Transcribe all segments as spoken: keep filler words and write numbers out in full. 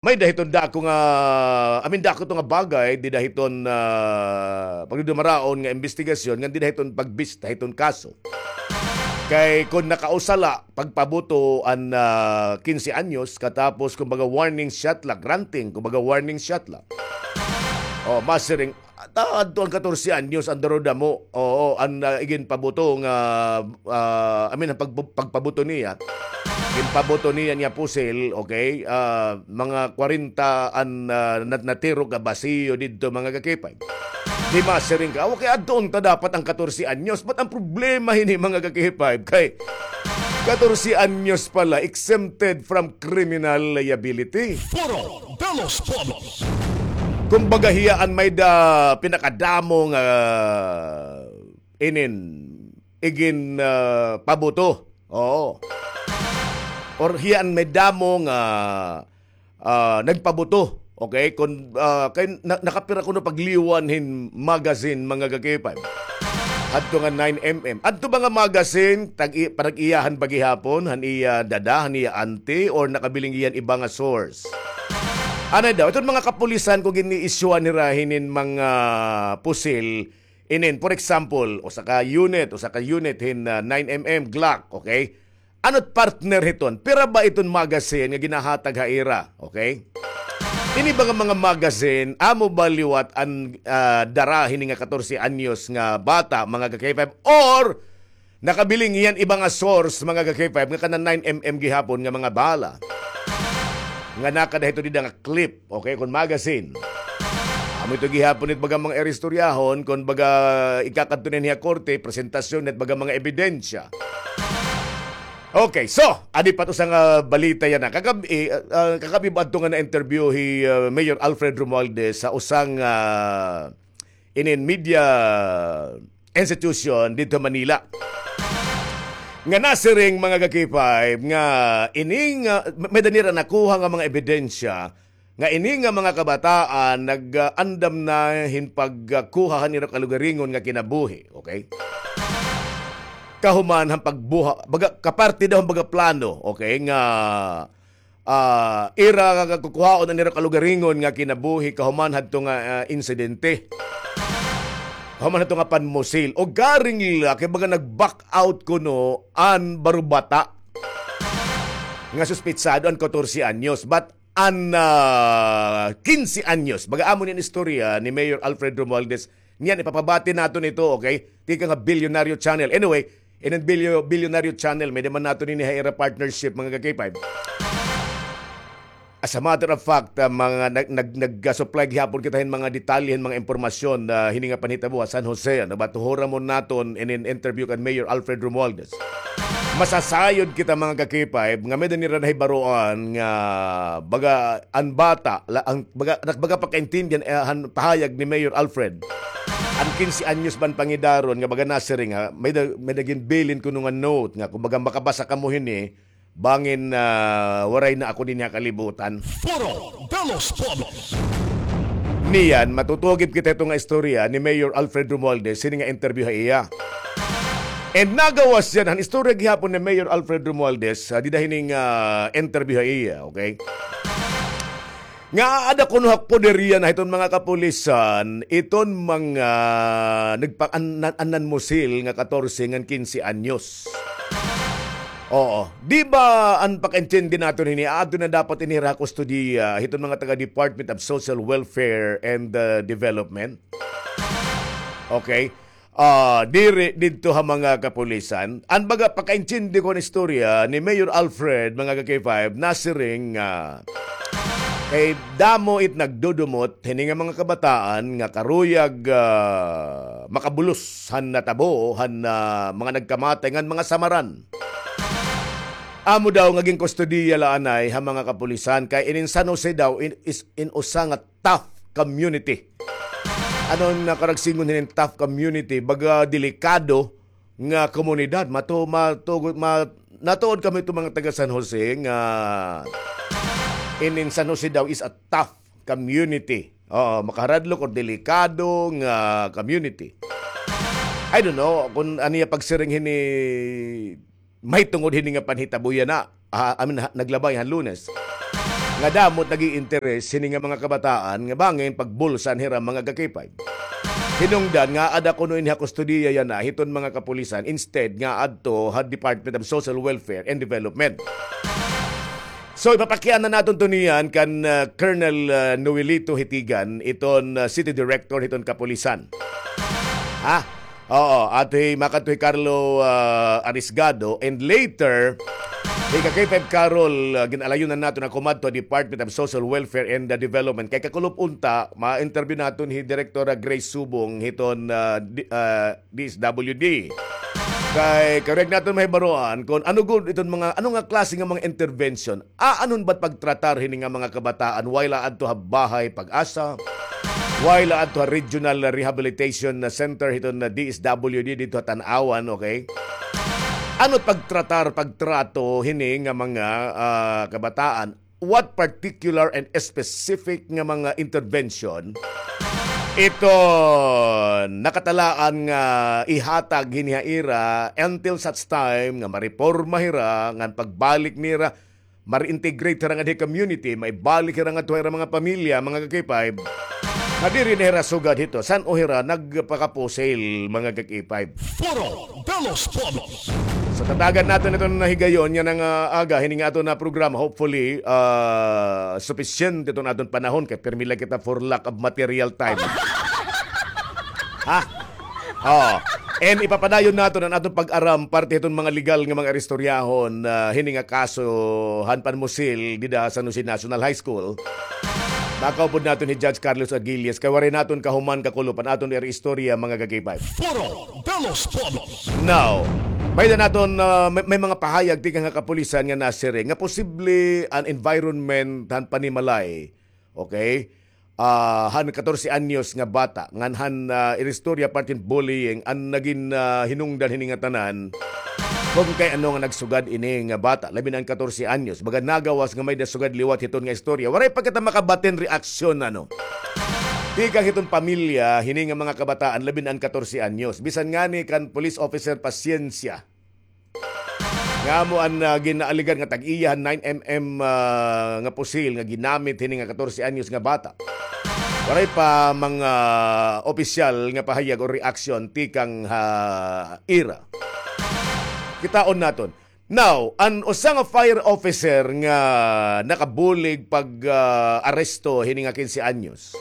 May-ada hiton dako nga, I mean, dako to nga bagay, dida hiton, ah, pagdudumaraon nga imbestigasyon, ngan dida hiton pagbista hiton kaso. Kay kon nakausa la, pagpabuto an, ah, quince anyos, katapos, kumbaga, warning shot la, granting, kumbaga, warning shot la. O, masiring, ta-, adto an katorse anyos, an darudamo. Oo, an, ah, iginpabuto nga, ah, I mean, an pagbu-, pagpabuto niya. Ginpabuto niya niya pusil, okay? Ah, mga kwarenta an, ah, nat-, natirok nga basiyo didto, mga ka-K five. Di masiring ka, okay, adto unta dapat an katorse anyos. But an problema hini, mga ka-K five, kay katorse anyos pala, exempted from criminal liability. Foro de los Pueblos. Kumbaga, hiya an may-ada pinakadamo nga inin igin, ah, pabuto. Oo. Or hiya an may damo nga, ah, nagpabuto. Okay? Kon, ah, kay na-, nakapira kuno pagliwan hin magazine, mga ka-K five. Adto nga nine M M. Adto ba nga magazine, tag-i-, panag-iyahan pa gihapon, han iya dada, han iya auntie, or nakabiling hiya han iba nga source? Anay daw, iton mga kapulisan kon gin-i-issue-an hira hinin mga pusil, inin, for example, usa ka unit, usa ka unit hin, ah, nine M M Glock, okay? Ano't partner hiton? Pira ba iton magazine nga ginahatag ha ira, okay? Ini ba nga mga magazine, amo ba liwat an, ah, dara hini nga katorse anyos nga bata, mga ka-K five, or nakabiling hiya han iba nga source, mga ka-K five, nga kana nine M M gihapon nga mga bala? Nga nakada hito dida nga clip, okay, kon magazine. Amo ito gihapon it baga mga iristoryahon, kon baga ikakadto na niya korte, presentasyon, it baga mga ebidensya. Okay, so, adi pa it usa nga balita yana. Kakab-, eh, ah, kakab-i ba adto nga na-interview hi, ah, Mayor Alfred Romualdez sa usang, ah, inin media institution didto Manila. Nga nasiring, mga ka-K five, nga ini nga, may-ada nira nakuha nga mga ebidensya nga ini nga mga kabataan nag-andam na hin pagkuha han ira kalugaringon nga kinabuhi, okay? Kahuman han pagbuha, baga, kaparte daw han baga plano, okay, nga ah, ira nga kukuhaon an ira kalugaringon nga kinabuhi kahuman hadto nga, ah, insidente. Kahuman hadto nga panmusil. O garing la, kay baga nag-back out kuno an barubata nga suspetsado, an katorse anyos. But an, ah, kinse anyos, baga amo ni an istorya ni Mayor Alfred Romualdez, niyan, ipapabati naton ito, okay? Tikang ha Bilyonaryo Channel. Anyway, inin Bilyo-, Bilyonaryo Channel, may-ada man naton ini ha ira partnership, mga ka-K five. As a matter of fact, ah, mga nag-, nag-, nag-supply gihapon kita hin mga detalye, hin mga impormasyon, ah, hini nga panhitabo ha San Jose, ano ba, tuhuramon naton inin interview kan Mayor Alfred Romualdez. Masasayod kita, mga ka-K five, nga may-ada nira nahibaroan nga baga an bata, la, ang baga, nagbaga pagkaintindihan, eh, han pahayag ni Mayor Alfred. An kinse anyos ba an pangidaron nga baga nasiring, ha, may-ada, may-ada ginbilin kuno nga note nga, kumbaga, makabasa kamo hini, bangin, ah, waray na ako dinhi ha kalibutan. Foro de los Pueblos. Niyan, matutugib kita hito nga istorya ni Mayor Alfred Romualdez, hini nga interview ha iya. And nagawas yana, han istorya gihapon ni Mayor Alfred Romualdez, ah, dida hini nga, ah, interview ha iya, okay? Nga aada kuno ha poder yana hiton mga kapulisan, iton mga nagpa-, an-, an-, an-, nanmusil nga katorse ngan kinse anyos. Oo. Di ba an pakaintindi naton hini, aadto na dapat ini ha kustodiya hiton mga taga Department of Social Welfare and, uh, Development? Okay. Ah, diri didto ha mga kapulisan. An baga pakaintindi ko an istorya ni Mayor Alfred, mga ka-K five, nasiring nga kay damo it nagdudumot hini nga mga kabataan nga karuyag, ah, makabulos han natabo han, ah, mga nagkamatay ngan mga samaran. Amo daw nga ginkustodiya la anay ha mga kapulisan kay inin San Jose daw in, is in usa nga tough community. Ano an karagsingon hinin tough community? Baga delikado nga komunidad. Matu-, matuod, ma-, natuod kami ito mga taga San Jose nga inin San Jose daw is a tough community. Oo, makaharadlok or delikado nga community. I don't know kung ano iya pagsiring hini mahitungod hini nga panhitabo yana, ah, I mean, ha, naglabay han Lunes. nga damo it nag-iinteres hini nga mga kabataan nga bangin pagbulsan hira, mga ka-K five. Hinungdan nga aada kuno ini ha kustodiya yana hiton mga kapulisan instead nga adto ha Department of Social Welfare and Development. So, ipapakiana naton to niyan kan, ah, Colonel, ah, Noelito Hitigan, iton, ah, City Director hiton kapulisan. Ha? Oo, adto hi, makadto hi Carlo, ah, Arisgado, and later, hi ka-K five Carol, ah, gin-alayunan naton nga kumadto ha Department of Social Welfare and, ah, Development. Kay kakulop unta, ma-interview naton hi Direktora Grace Subong hiton, ah, di-, ah, D S W D. Kay karuyag naton mahibaroan kon ano gud iton mga, ano nga klase nga mga intervention. Aanhon ba it pagtratar hini nga mga kabataan, while aadto ha Bahay Pag-asa, while aadto ha Regional Rehabilitation Center hiton D S W D didto ha Tanauan, okay? Ano it pagtratar, pagtrato hini nga mga, ah, kabataan? What particular and specific nga mga intervention iton nakatalaan nga ihatag hini ha ira until such time nga mareporma hira, ngan pagbalik nira, ma-reintegrate hira ngadto ha community, maibalik hira ngadto ha ira mga pamilya, mga ka-K five, nga diri na hira sugad hito, san-o hira nagpakapusil, mga ka-K five. Foro de los Pueblos. So, tatagan naton iton higayon yana nga aga hini nga aton nga programa. Hopefully, ah, supisyente iton aton panahon kay pirmi la kita for lack of material time. Ha? Oh. And ipapadayon naton an aton pag-aram parte hiton mga legal nga mga istoryahon, ah, hini nga kaso han panmusil dida ha San Jose National High School. Makaupod naton hi Judge Carlos Aguilias kay waray naton kahuman kakulop an aton ira istorya, mga ka-K five. Foro de los Pueblos. Now, may-ada naton, ah, may, may mga pahayag tikang ha kapulisan nga nasiring nga posible an environment han panimalay. Okay? Ah, han katorse anyos nga bata, ngan han, ah, ira istorya parte hin bullying, an nagin, ah, hinungdan hini nga tanan, kon kay ano nga nagsugad ini nga bata, labi na an katorse anyos. Baga nagawas nga may-ada sugad liwat hiton nga istorya. Waray pa kita makabatin reaksyon, ano. Tikang hiton pamilya, hini nga mga kabataan, labi na an katorse anyos. Bisan ngani kan police officer, pasyensya. Nga amo an, ah, ginaaligar nga tag-iya han nine M M, ah, nga pusil nga ginamit hini nga katorse anyos nga bata. Waray pa mga opisyal nga pahayag o reaksyon tikang ha ira. Kitaon naton. Now, an usa nga fire officer nga nakabulig pag, ah, aresto hini nga kinse anyos,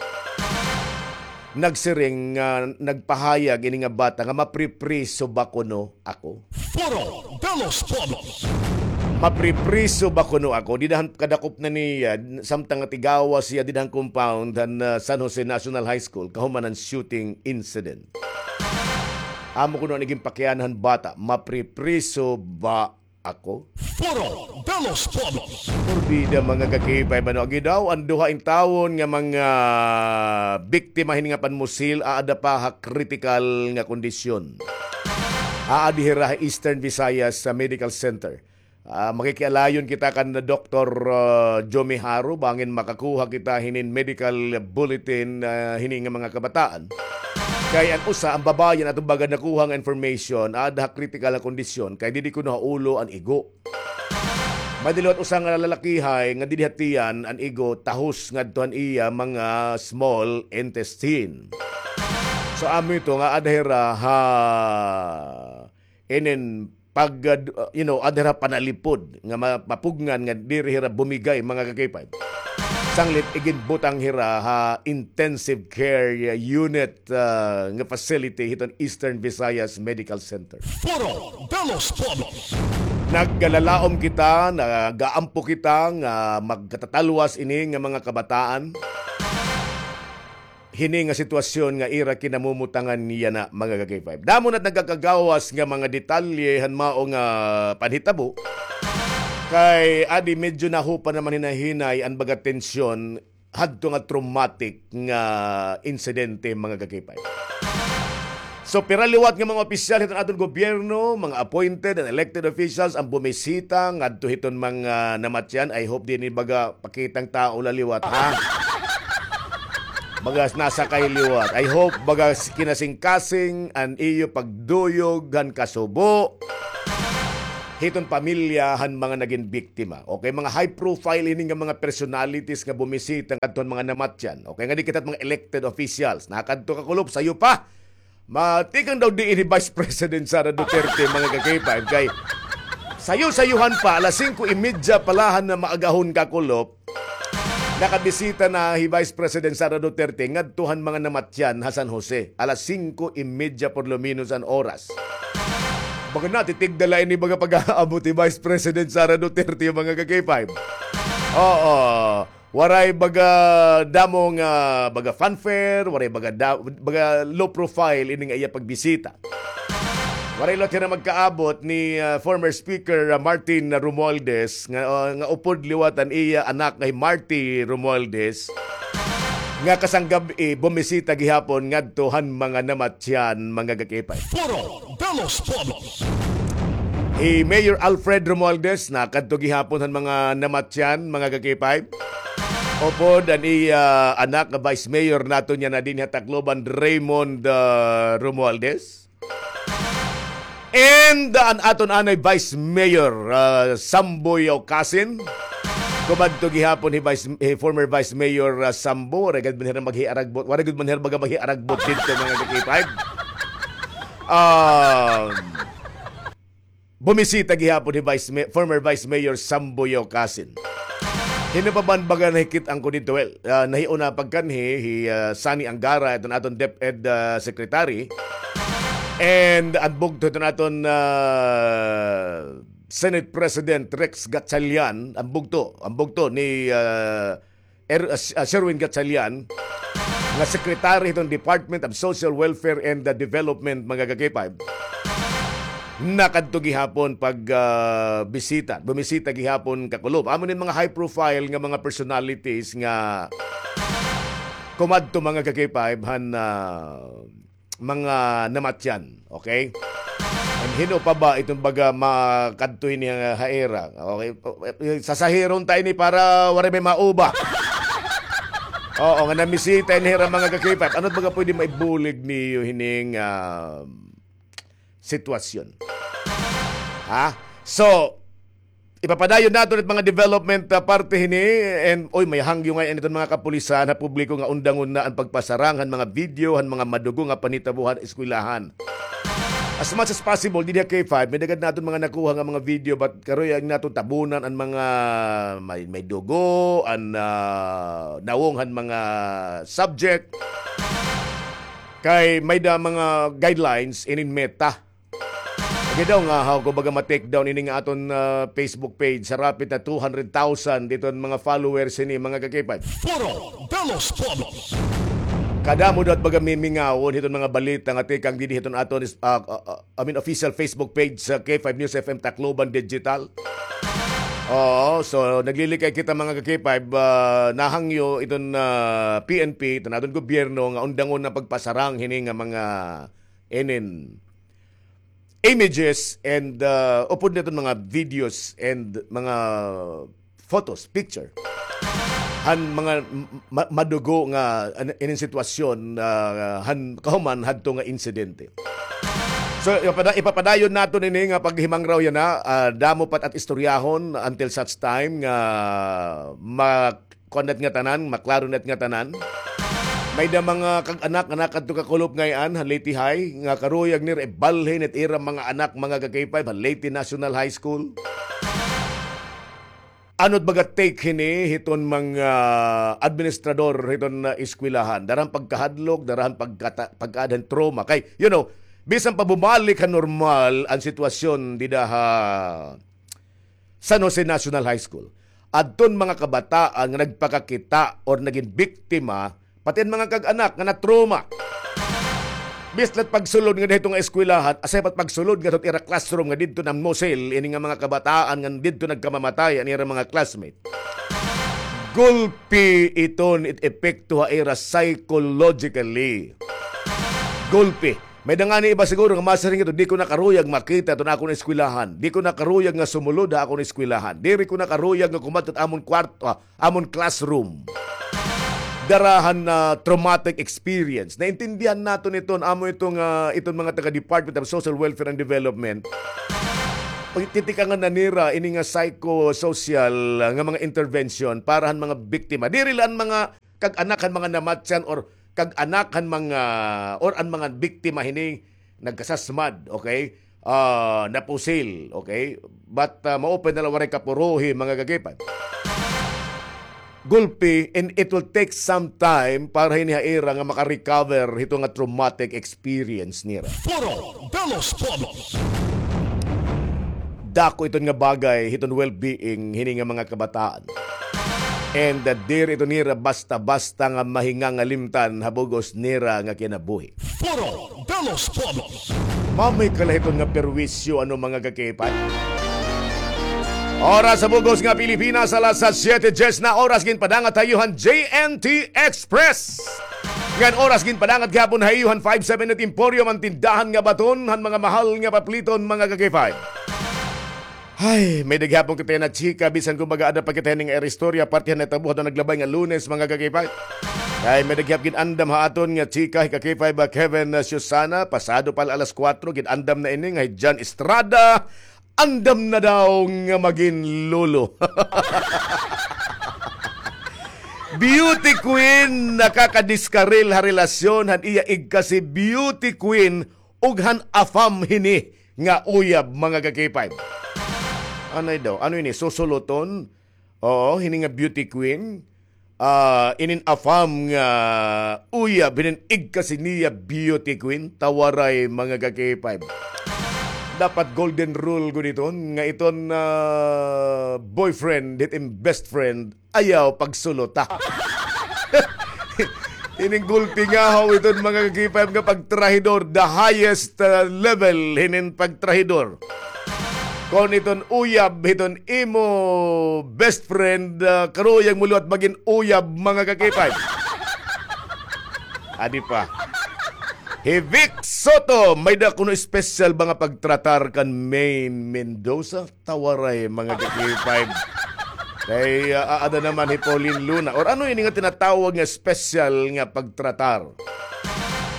nagsiring nga nagpahayag ini nga bata nga mapripriso ba kuno ako? Foro de los Pueblos. Mapripriso ba kuno ako? Dida han kadakop na niya, samtang natigawas hiya dida han compound han, ah, San Jose National High School, kahuman han shooting incident. Amo kuno an ginpakiana han bata, mapripriso ba ako? Foro de los Pueblos. Purdi da mga ka-K five, ano, agi daw, an duha intawon nga mga biktima hini nga panmusil, aada pa ha kritikal nga kondisyon. Aadi hira ha Eastern Visayas sa Medical Center. Ah, makikialayon kita kan Doktor, ah, Jomi Haro, bangin makakuha kita hinin medical bulletin, ah, hini nga mga kabataan. Kay an usa, an babaye, an aton baga nakuha nga information, aada ha kritikal nga kondisyon, kay didi kuno ha ulo an igo. May-ada liwat usa nga lalakihay nga didi ha tiyan an igo, tahos ngadto han iya mga small intestine. So, amo ito nga aada hira ha inin pag, uh, you know, aada hira panalipod nga ma-, mapugngan nga diri hira bumigay, mga ka-K five. Sanglit iginbutang hira ha intensive care unit, uh, nga facility hiton Eastern Visayas Medical Center. Foro de los Pueblos. Nagkalalaom kita, nagaampo kita nga magkatatalwas ini nga mga kabataan hini nga sitwasyon nga ira kinamumutangan yana, mga ka-K five. Damo na it nagakagawas nga mga detalye han mao nga panhitabo. Kay adi medyo nahupa naman hinay-hinay an baga tensyon hadto nga traumatic nga insidente, mga ka-K five. So, pira liwat nga mga opisyal hiton aton gobyerno, mga appointed and elected officials, an bumisita ngadto hiton mga namatyan. I hope diri baga pakitang tawo la liwat, ha? Baga nasakay liwat. I hope baga kinasingkasing an iyo pagduyog han kasubo. hiton pamilya han mga nagin biktima. Okay, mga high profile ini nga mga personalities nga bumisita ngadto han mga namatyan. Okay, nga di kita mga elected officials. Nakadto ka kulop, sayo pa. Matikang daw diin hi Vice President Sara Duterte, mga ka-K five, kay sayo-sayuhan pa, alas singko y medya pa la han maagahon, kakulop, nakabisita na hi Vice President Sara Duterte ngadto han mga namatyan ha San Jose. Alas singko y medya por lo menos an oras. Baga natitigda la ini baga pag-aabot hi Vice President Sara Duterte, mga ka-K five. Oo. Waray baga damo nga baga fanfare, waray baga da-, baga low profile ini nga iya pagbisita. Waray liwat hira magkaabot ni, ah, former Speaker, ah, Martin Romualdez nga, ah, nga upod liwat an iya anak nga hi Marty Romualdez nga kasanggab-i bumisita gihapon ngadto han mga namatyan, mga ka-K five. Foro de los Pueblos. Hi Mayor Alfred Romualdez nakadto gihapon han mga namatyan, mga ka-K five. Upod an iya anak nga Vice Mayor naton yana dinhi ha Tacloban, Raymond, ah, Romualdez. And, ah, an aton anay Vice Mayor, ah, Samboy Ocasin. Kumadto gihapon hi Vice, hi former Vice Mayor, ah, Sambo. Waray gud man hira maghiaragbot. Waray gud man hira baga maghiaragbot didto, mga ka-K five. Um, bumisita gihapon hi Vice Ma-, former Vice Mayor Samboy Ocasin. Hin-o pa man baga nahikit-an ko didto? Well, ah, nahiuna pagkanhi, hi, ah, Sonny Angara, iton aton DepEd, ah, Secretary. And an bugto iton aton, ah, Senate President Rex Gatchalian, an bugto, an bugto ni, ah, Er-, ah, S-, ah, Sherwin Gatchalian, nga secretary hiton Department of Social Welfare and, ah, Development, mga ka-K five, nakadto gihapon pag, ah, bisita. Bumisita gihapon, kakulop. Amo nin mga high profile nga mga personalities nga kumadto, mga ka-K five, han, ah, mga namatyan, okay? And hin-o pa ba iton baga makadto ini ha, ha ira, okay? Sasahiron ta ini para waray may mauba. Oo, nga namisita ini hira, mga ka-K five. Ano baga pwede maibulig niyo hining, ah, sitwasyon? Ha? So, ipapadayon naton it mga development, ah, parte hini, and, oy, may hangyo ngay-an iton mga kapulisan ha publiko nga undangon na an pagpasarang han mga video han mga madugo nga panhitabo han eskwelahan. As much as possible, dinhi ha K five, may daghan naton mga nakuha nga mga video, but karuyag naton tabunan an mga may, may dugo, an, ah, nawong han mga subject. Kay may da mga guidelines inin Meta. Lagi daw nga, haw ko baga ma-take down ini nga aton, ah, Facebook page, sarapit na two hundred thousand iton mga followers hini, mga ka-K five. Foro de los Pueblos. Kadamo daw it baga mimingawon hiton mga balita nga tikang dinhi hiton aton is-, ah, ah, ah, I mean, official Facebook page sa K five News F M Tacloban Digital. Oo, so naglilikay kita, mga ka-K five, ah, nahangyo iton, ah, P N P, iton aton gobyerno nga undangon na pagpasarang hini nga mga inin images and, uh, upod niton mga videos and mga photos, picture han mga m-, ma-, madugo nga an-, inin sitwasyon, uh, han kahuman hadto nga insidente. So, ipapada-, ipapadayon naton ini nga paghimangraw yana, uh, damo pa it istoryahon until such time nga ma-, kuan na it ngatanan, maklaro na it ngatanan. May da mga kag-anak nga nakadto kakulop ngay-an han Leyte High, nga karuyag nira ibalhin it ira mga anak, mga ka-K five, han Leyte National High School. Ano it baga take hini hiton mga administrador hiton, ah, eskwelahan? Dara han pagkahadlok, dara han pagkata-, pagkaada han trauma. Kay, you know, bisan pa bumalik ha normal an sitwasyon dida ha San Jose National High School, adton mga kabataan nga nagpakakita or nagin biktima, pati an mga kag-anak nga na-trauma. Bisan la it pagsulod nga didto nga eskwelahan, asya pa it pagsulod ngadto ha ira classroom nga didto namusil ini nga mga kabataan nga didto nagkamamatay an ira mga classmate. Gulpi iton it epekto ha ira psychologically. Gulpi. May da ngani iba siguro nga masiring ito, "Di ko na karuyag makita iton akon eskwelahan. Di ko na karuyag nga sumulod ha akon eskwelahan. Diri ko na karuyag nga kumadto ha amon kwarto, ah, amon classroom." Dara han, ah, traumatic experience. Naintindihan naton iton, amo iton, ah, iton mga taga Department of Social Welfare and Development. pagtitikangan na nira ini nga psychosocial, ah, nga mga intervention para han mga biktima. Diri la an mga kag-anak han mga namatyan or kag-anak han mga, or an mga biktima hini nagkasasmad, okay? Ah, napusil, okay? But, ah, maupay na la waray kapuruhi, mga kagipay. Gulpi, and it will take some time para hini ha ira nga maka-recover hito nga traumatic experience nira. Foro de los Pueblos. Dako iton nga bagay hiton well-being hini nga mga kabataan. And, uh, diri ito nira basta-basta nga mahingangalimtan ha bug-os nira nga kinabuhi. Foro de los Pueblos. Mamay kalahiton nga perwisyo, ano, mga kakipay? Oras sa bug-os nga Pilipinas, alas siyete dies na oras, ginpadangat ha iyo han J N T Express. Ngan oras ginpadangat gihapon ha iyo han five seven eight Emporium, an tindahan nga baton han mga mahal nga papliton, mga kakipay. Ay, may-ada gihapon kita yana chika, bisan kumbaga ada pa kita hini nga ira istorya, parte han natabo hadto naglabay nga Lunes, mga kakipay. Kay may-ada gihap gin-andam ha aton nga chika hi kakipay ba Kevin, uh, Susana, pasado pa la alas kuwatro, gin-andam na ini nga hi John Estrada, andam na daw nga magin lolo. Beauty queen, nakakadiskaril ha relasyon han iya igkasi beauty queen ug han afam hini nga uyab, mga kakipay. Anay daw, ano ini, susuluton? Oo, hini nga beauty queen. Ah, inin afam nga uyab, hinin igkasi niya beauty queen, tawaray, mga kakipay. Dapat golden rule gud iton, nga iton, ah, boyfriend, hit in best friend, ayaw pagsuluta. Ining gulpi nga haw iton, mga kakipay, nga pagtrahidor, the highest, ah, level hinin pagtrahidor. Kon iton uyab hiton imo best friend, ah, karuyag mo liwat magin uyab, mga kakipay. Adi pa. Hi Vic Soto, may-ada kuno special ba nga pagtratar kan Maine Mendoza? Tawaray, mga kakipay. Kay, ah, aada naman hi Pauline Luna. Or ano ini nga tinatawag nga special nga pagtratar?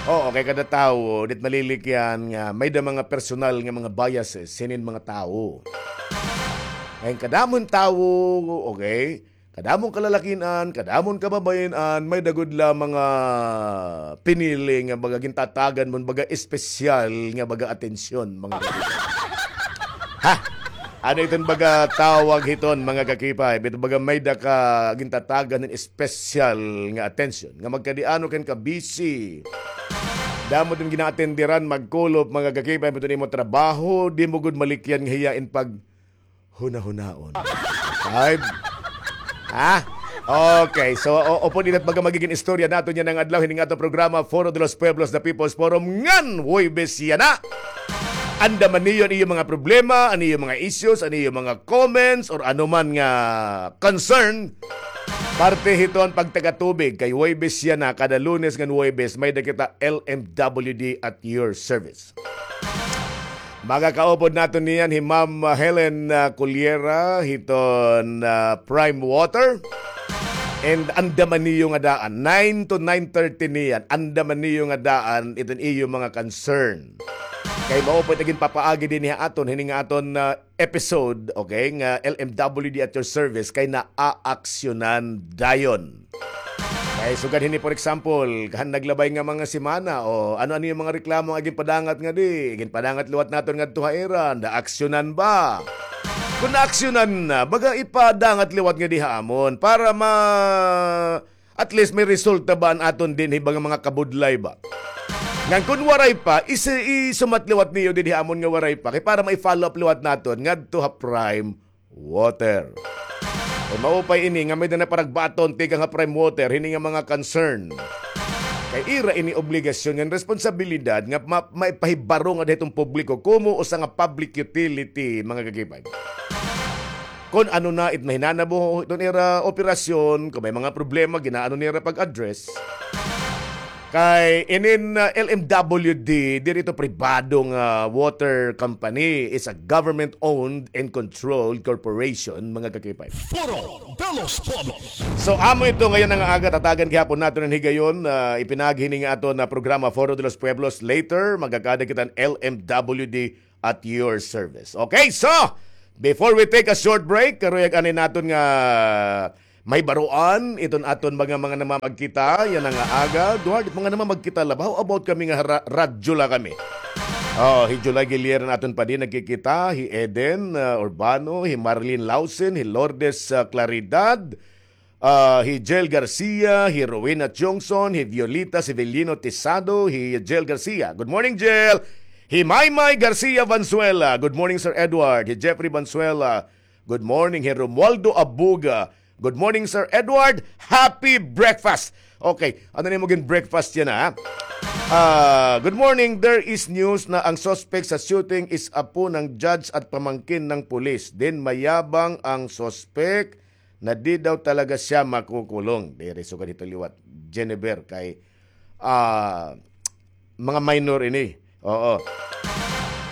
Oo, kay kada tawo, dit malilikyan nga may-ada mga personal nga mga biases hinin mga tawo. Kay kadamo hin tawo, okay? Kadamo hin kalalakin-an, kadamo hin kababayen-an, may-ada gud la mga pinili nga baga gintatagan mo hin baga espesyal nga baga atensyon, mga kakipay. Ha? Ano iton baga tawag hiton, mga kakipay? Bito baga may-ada ka gintatagan hin espesyal nga atensyon. Nga magkadiano ka hin ka-busy. Damo iton ginaatenderan, magkulop, mga kakipay, bito nimo trabaho, di mo gud malikyan nga hiya in pag hunahunaon. Five. Ha? Okay, so, o, upod ina it baga magigin istorya naton yana nga adlaw, hini nga aton programa, Foro de los Pueblos, the People's Forum, ngan Huwebes yana. Andaman niyo an iyo mga problema, an iyo mga issues, an iyo mga comments, or ano man nga concern. Parte hiton pagtagatubig, kay Huwebes yana, kada Lunes ngan Huwebes, may-ada kita L M W D at your service. Magakaupod naton niyan hi Ma'am, ah, Helen, ah, Cullera hiton, ah, Prime Water. And andaman niyo nga daan, nine to nine thirty niyan, andaman niyo nga daan iton iyo mga concern. Kay mao pa it ginpapaagi dinhi ha aton, hini nga aton, ah, episode, okay, nga L M W D at your service, kay naaaksyonan dayon. Kay sugad hini, for example, han naglabay nga mga semana, o ano-ano it mga reklamo nga ginpadangat ngadi, ginpadangat liwat naton ngadto ha ira, naaksyonan ba? Kon naaksyonan na, baga ipadangat liwat ngadi ha amon para ma-, at least may resulta ba an aton dinhi baga mga kabudlay ba? Ngan kon waray pa, isi-, isumat liwat niyo dinhi ha amon nga waray pa, kay para mai-follow up liwat naton ngadto ha Prime Water. Kay maupay ini nga may-ada na paragbaton tikang ha Prime Water hini nga mga concern. Kay ira ini obligasyon ngan responsabilidad nga ma-, maipahibaro ngada hiton publiko komo usa nga public utility, mga kakipay. Kon ano na it mahinanabo hiton ira operasyon, kon may mga problema, ginaano nira pag-address. Kay inin, ah, L M W D, diri ito pribado nga water company. It's a government-owned and controlled corporation, mga kakipay. Foro de los Pueblos. So, amo ito ngayon nga aga, tatagan gihapon naton an higayon, ah, ipinaagi hini nga aton nga programa, Foro de los Pueblos. Later, magkakaada kita hin L M W D at your service. Okay, so, before we take a short break, karuyag anay naton nga mahibaroan iton aton mga, mga namamagkita yana nga aga. Duha, mga namamagkita la ba? How about kami nga ra-, radyo la kami? Oh, hi July Gilier an aton pa din nagkikita, hi Eden, ah, Urbano, hi Marilyn Lausen, hi Lourdes, ah, Claridad, ah, hi Jel Garcia, hi Rowena Chongson, hi Violita Severino Tisado, hi Jel Garcia. Good morning, Jel. Hi Maymay Garcia Valenzuela. Good morning, Sir Edward. Hi Jeffrey Valenzuela. Good morning. Hi Romualdo Abuga. Good morning, Sir Edward. Happy breakfast. Okay, ano na mo gin breakfast yan, ha? Ah, good morning. There is news na ang suspect sa shooting is apo ng judge at pamangkin ng pulis. Then mayabang ang suspect na di daw talaga siya makukulong. Diri sugad hito liwat, Jennifer, kay, ah, mga minor ini. Oo.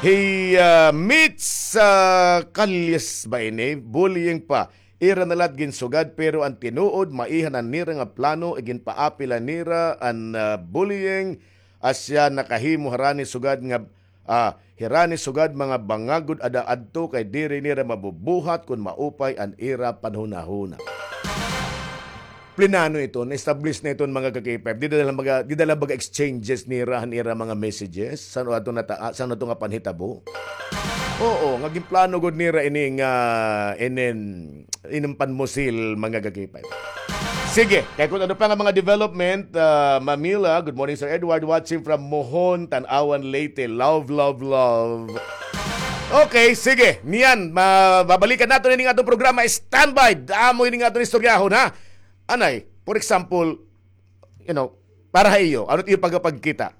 Hi, ah, Mitch, ah, Calles ba ini? Bullying pa. Ira na la it ginsugad, pero an tinuod, maiha na nira nga plano, iginpaapil la nira an, ah, bullying, asya nakahimo harani sugad nga Ah, hirani sugad mga bangag gud ada adto kay diri nira mabubuhat kon maupay an ira panhunahuna. Plinano iton, na-establish na iton mga ka-K five. Dida la mga, dida la baga exchanges nira han ira mga messages. San-o ato nata-, ah, san-o ato nga panhitabo? Oo, nga ginplano gud nira ini nga inin, inin panmusil mga ka-K five. Sige, kay kun ano pa nga mga development, ah, Mamila, good morning, Sir Edward, watching from Mohon, Tanauan, Leyte. Love, love, love. Okay, sige. Niyan, ma-, babalikan naton ini nga atong programa. Standby. Damo ini nga atong istoryahon, ha? Anay, for example, you know, para ha iyo, ano it iyo pagkapagkita?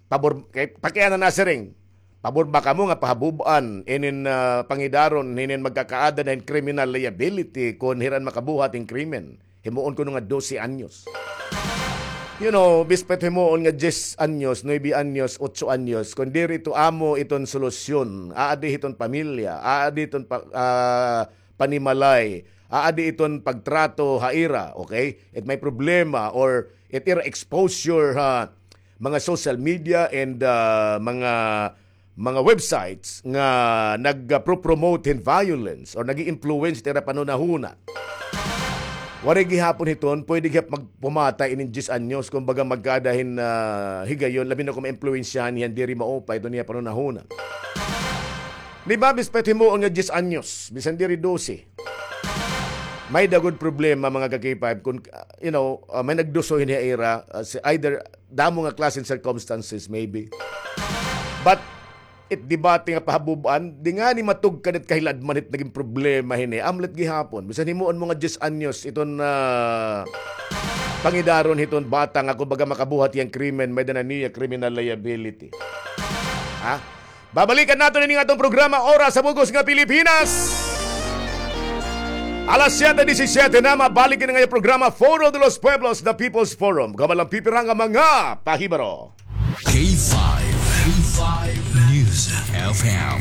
Pabor, kay, pakiana na siring. Pabor ba kamo nga pahabub-an inin, ah, pangidaron hinin magkakaada na hin criminal liability kon hiran makabuhat hin krimen? Himuon kuno nga dose anyos. You know, bispet himuon nga diyes anyos, nuebe anyos, otso anyos, kon diri ito amo iton solusyon, aadi hiton pamilya, aadi iton pa-, ah, panimalay, aadi iton pagtrato ha ira, okay? It may problema or it ira exposure ha mga social media and, ah, mga, mga websites nga nagpro-promote hin violence or nag-i-influence it ira panhunahuna. Waray gihapon hiton, pwede gihap magpumata inin diyes anyos, kumbaga magkaada hin, ah, higayon, labi na kon maimpluwensyahan hiya hin diri maupay iton iya panhunahuna. Di ba, bispet himuon nga diyes anyos, bisan diri dose. May-ada gud problema, mga ka-K five, kun, uh, you know, uh, may nagduso hini ha ira, uh, si-, either damo nga klase hin circumstances, maybe. But, it debate nga pahabub-an, di ngani matugkad it kahiladman hit nagin problema hini. Amlet gihapon, bisan himuon mo nga diyes anyos, iton, uh, pangidaron hiton bata nga kumbaga makabuhat hiya hin krimen, may-ada na niya criminal liability. Ha? Babalikan naton ini nga atong programa, Oras sa Bug-os nga Pilipinas. Alas siyete disisiyete na, mabalik ini nga programa, Foro de los Pueblos, The People's Forum. Kabalang pipira nga mga pahibaro. K five, K five News F M,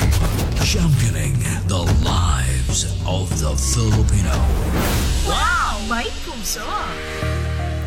championing the lives of the Filipino. Wow! May puso!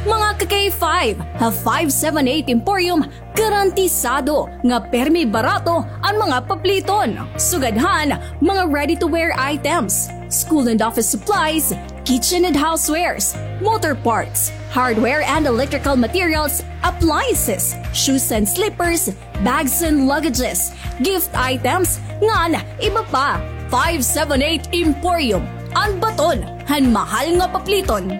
Mga ka-K five, ha five seven eight Emporium, garantisado nga permi barato an mga papliton. Sugad han mga ready-to-wear items, school and office supplies, kitchen and housewares, motor parts, hardware and electrical materials, appliances, shoes and slippers, bags and luggages, gift items, ngan iba pa. Five seven eight Emporium, an baton han mahal nga papliton.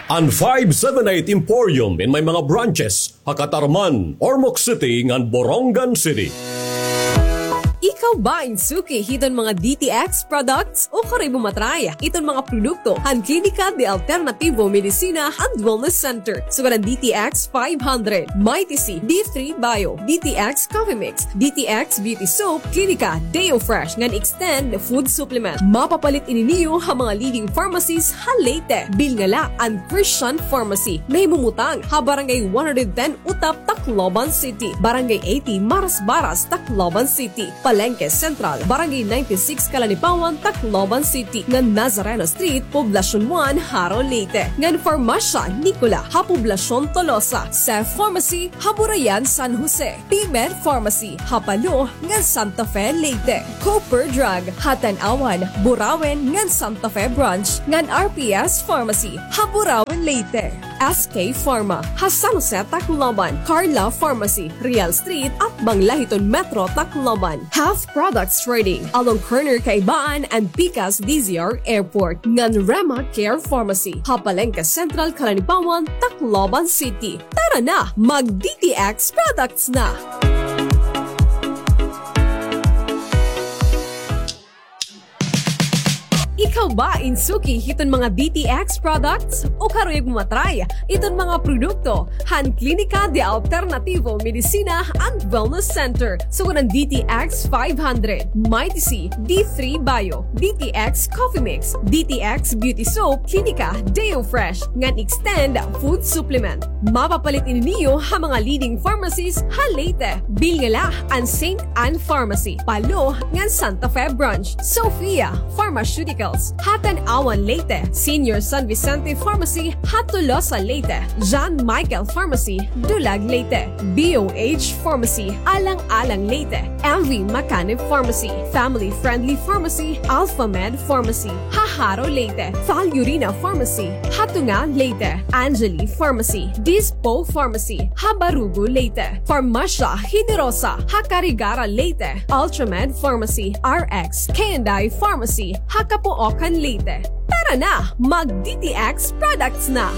An five seven eight Emporium in may mga branches ha Catarman, Ormoc City, ngan Borongan City. Ikaw ba in suki hiton mga D T X products? Ukari mo matry iton mga produkto han Klinika de Alternativo Medicina and Wellness Center. Sugad an D T X five hundred, Mighty C, D three Bio, D T X Coffee Mix, D T X Beauty Soap, Klinika Deo Fresh ngan Extend Food Supplement. Mapapalit ini niyo ha mga leading pharmacies ha Leyte. Bilngala an Christian Pharmacy. Nahimumutang ha Barangay one hundred ten Utap, Tacloban City. Barangay eighty Marasbaras, Tacloban City. Palengke Central, Barangay ninety-six, Calanipawan, Tacloban City, ngan Nazareno Street, Poblacion one, Jaro, Leyte, ngan Farmacia Nicola ha Poblacion Tolosa, Seth Pharmacy ha Burayan, San Jose, P-Med Pharmacy ha Palo ngan Santa Fe, Leyte, Cooper Drug ha Tanauan, Burauen ngan Santa Fe Branch, ngan R P S Pharmacy ha Burauen, Leyte. S K Pharma ha San Jose, Tacloban, Carla Pharmacy, Real Street, atbang la hiton Metro Tacloban. Half Products Trading, along corner Kaibaan and pikas D Z R Airport, ngan Rema Care Pharmacy ha Palengke Central, Calanipawan, Tacloban City. Tara na, mag D T X products na! Ikaw ba in suki hiton mga D T X products? O karuyag mo ma-try iton mga produkto han Klinika de Alternativo Medicina and Wellness Center? Sugad han D T X five hundred, Mighty C, D three Bio, D T X Coffee Mix, D T X Beauty Soap, Klinika Deo Fresh, ngan Extend Food Supplement. Mapapalit ini niyo ha mga leading pharmacies ha Leyte. Bilin la han Saint Ann Pharmacy, Palo, ngan Santa Fe Branch. Sophia Pharmaceuticals ha Tanauan, Leyte. Senior San Vicente Pharmacy ha Tolosa, Leyte. John Michael Pharmacy, Dulag, Leyte. B O H Pharmacy, Alang-alang, Leyte. M V Macanib Pharmacy, Family Friendly Pharmacy, Alpha Med Pharmacy ha Jaro, Leyte. Falurina Pharmacy ha Tunga, Leyte. Angeli Pharmacy, Dispo Pharmacy ha Barugo, Leyte. Farmacia Generosa ha Carigara, Leyte. Ultramed Pharmacy, R X K and I Pharmacy ha Capoocan, Leyte. Tara na, mag D T X products na!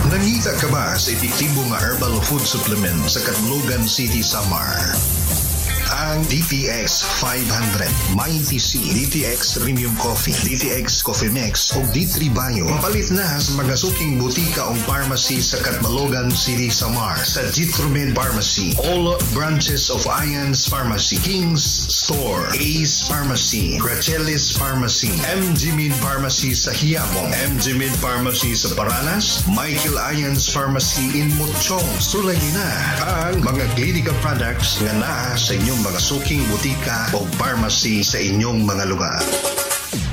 Nangita ka ba sa epektibo nga herbal food supplement sa Catbalogan City, Samar? Ang D T X five hundred, Mighty C, D T X Premium Coffee, D T X Coffee Mix, ug D three Bio. Mapalit na sa mga suking butika o pharmacy sa Catbalogan City, Samar, sa Jitromed Pharmacy, all branches of Ian's Pharmacy, King's Store, Ace Pharmacy, Gracelis Pharmacy, M G Med Pharmacy sa Quiapo, M G Med Pharmacy sa Paranas, Michael Ian's Pharmacy in Mochong. Sulayi na ang mga Klinika products nga naa sa inyong mga suking butika o pharmacy sa inyong mga lugar.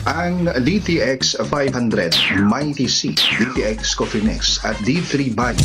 Ang D T X five hundred, Mighty C, D T X Coffee Mix, at D three Bio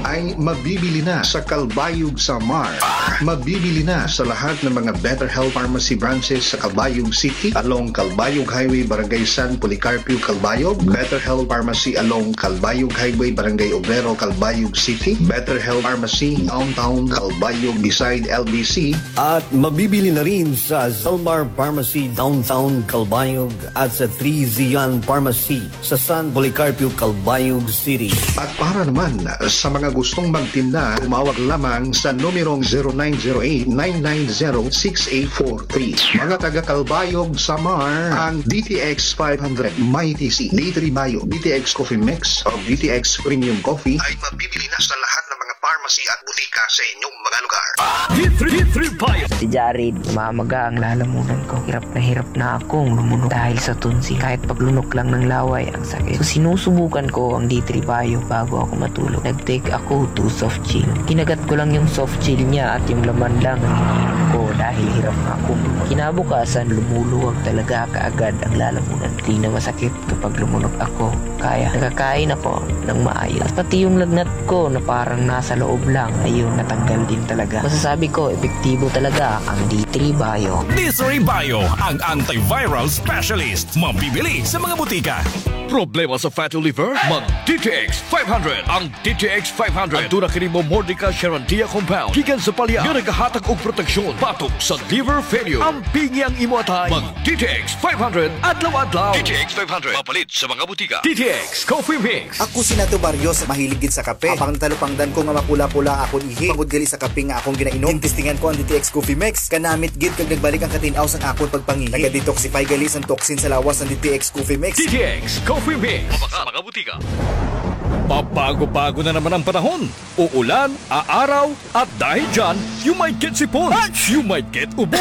ay mabibili na sa Calbayog, Samar. Mabibili na sa lahat ng mga Better Health Pharmacy branches sa Calbayog City, along Calbayog Highway, Barangay San Policarpio, Calbayog, Better Health Pharmacy along Calbayog Highway, Barangay Obrero, Calbayog City, Better Health Pharmacy Downtown Calbayog beside L B C, at mabibili na rin sa Zalmar Pharmacy Downtown Calbayog at sa Three Zion Pharmacy sa San Policarpio, Calbayog City. At para naman sa mga gustong magtinda, tumawag lamang sa numerong zero nine zero eight, nine nine zero, six eight four three. Mga taga Calbayog, Samar, ang D T X five hundred, Mighty C, D three Bio, D T X Coffee Mix, o D T X Premium Coffee ay mabibili na sa lahat ng mga pharmacy at butika sa inyong mga lugar. D three, D three Bio. Si Jared, umamaga ang lalamunan ko. Hirap na hirap na akong lumunok dahil sa tonsil. Kahit paglunok lang ng laway, ang sakit. So, sinusubukan ko ang D three Bio bago ako matulog. Nag-take ako two soft gel. Kinagat ko lang yung soft gel niya at yung laman lang ang iniinom ko dahil hirap na akong lumunok. Kinabukasan, lumuluwag talaga kaagad ang lalamunan. Di na masakit kapag lumunok ako. Kaya nakakain ako ng maayos. At pati yung lagnat ko na parang nasa loob lang, ayun, natanggal din talaga. Masasabi ko, epektibo talaga ang D three Bio. D three Bio, ang antiviral specialist. Mabibili sa mga butika. Problema sa fatty liver? Mag D T X five hundred. Ang D T X five hundred. Aduna kini Momordica charantia compound gikan sa palya nga nagahatag og proteksyon batok sa liver failure. Ampingi ang imo atay. Mag D T X five hundred adlaw-adlaw. D T X five hundred. Mapalit sa mga butika. D T X Coffee Mix. Ako si Nato Barrios, mahilig gid sa kape. Apang natalupangdan ko nga mapula-pula akon ihi tungod gali sa kape nga akon ginainom. Ginestingan ko ang D T X Coffee Mix. Kanamit gid kag nagbalik ang katin-aw sang akon pagpangihi. Naga-detoxify gali sang toxin sa lawas ang D T X Coffee Mix. D T X Coffee Mix. Mga, mga butika. Pabago-bago na naman ang panahon. Uulan, aaraw, at dahil dyan, you might get sipon, you might get ubo,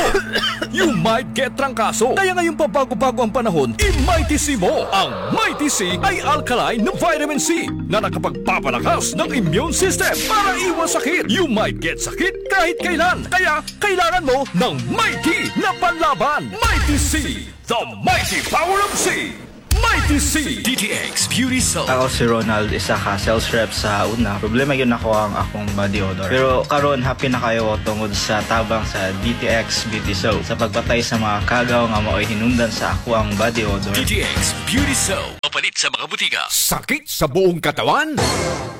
you might get trangkaso. Kaya ngayong pabago-bago ang panahon, i-Mighty C mo. Ang Mighty C ay alkaline na vitamin C na nakapagpapalakas ng immune system para iwas sakit. You might get sakit kahit kailan. Kaya kailangan mo ng Mighty na panlaban. Mighty C, the mighty power of C. Mighty C. D T X Beauty Soap. Ako si Ronald, isa ka sales rep sa una. Problema gyud nako ang akong body odor. Pero karon, happy na kaayo ko tungod sa tabang sa D T X Beauty Soap sa pagpatay sa mga kagaw nga maoy hinungdan sa akoang body odor. D T X Beauty Soap. Mapalit sa mga butika. Sakit sa buong katawan?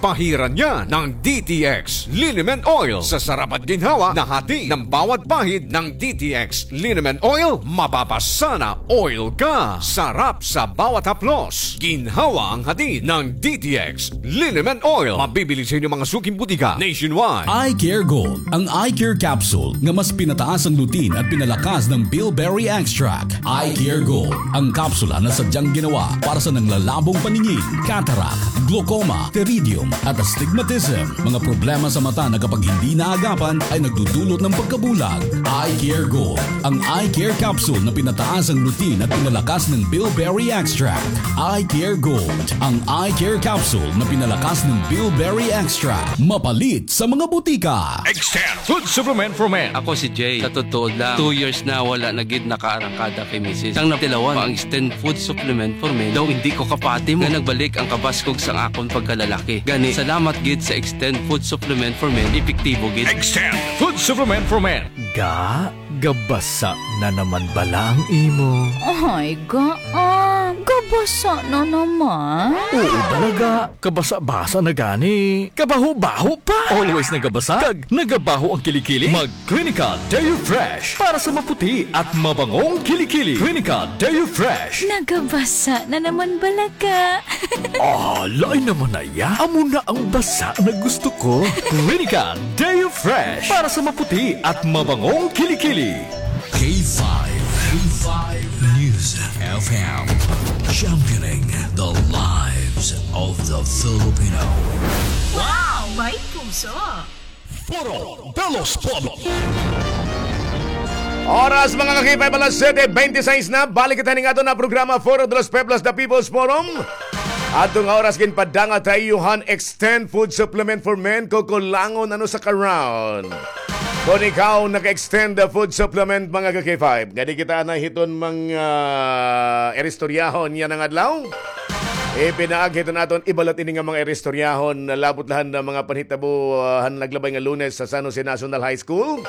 Pahiran niya ng D T X Liniment Oil sa sarap at ginhawa na hati ng bawat pahid ng D T X Liniment Oil. Mapapasana oil ka. Sarap sa bawat haplos. Ginhawa ang hatid ng D T X Liniment Oil. Mabibili sa inyong mga suking butika nationwide. Eye Care Gold, ang eye care capsule nga mas pinataas ang lutein at pinalakas ng bilberry extract. Eye Care Gold, ang kapsula na sadyang ginawa para sa nanglalabong paningin, cataract, glaucoma, pteridium, at astigmatism. Mga problema sa mata na kapag hindi naagapan ay nagdudulot ng pagkabulag. Eye Care Gold, ang eye care capsule na pinataas ang lutein at pinalakas ng bilberry extract. Eye Care Gold, ang eye care capsule na pinalakas ng bilberry extract. Mapalit sa mga butika. Extend Food Supplement for Men. Ako si Jay. Sa totoo lang, two years na wala na gid nakaarangkada kay misis. Sang natilawan pa ang Extend Food Supplement for Men, daw hindi ko kapati mo nga nagbalik ang kabaskog sang akon pagkalalaki. Gani, salamat gid sa Extend Food Supplement for Men, epektibo gid. Extend Food Supplement for Men. Ga, gabasa na naman bala ang imo? Ay, ga, ah, gabasa na naman? Oo, bala, ga. Kabasa-basa na gani. Kabaho-baho pa. Always nagabasa. Kag nagabaho ang kilikili. Mag Clinica Deo Fresh para sa maputi at mabangong kilikili. Clinica Deo Fresh. Nagabasa na naman bala ka. Ah, lain naman na iya. Amo na ang basa na gusto ko. Clinica Deo Fresh para sa maputi at mabangong kilikili. K five, K five News F M, championing the lives of the Filipino. Wow, may puso. Foro de los Pueblos. Oras, mga ka-K five, alas siyete bente seis na. Balik kita ning aton nga programa, Foro de los Pueblos, The People's Forum. Aton nga oras, ginpadangat ha iyo han Extend Food Supplement for Men, kukulangon ano sa karon. Kon ikaw naka-extend the food supplement, mga ka-K five, ngadi kita na hiton mga, ah, iristoryahon yana nga adlaw. Ipinaagi hiton aton ibalat ini nga mga iristoryahon, labot la han mga panhitabo, ah, han naglabay nga Lunes sa San Jose National High School.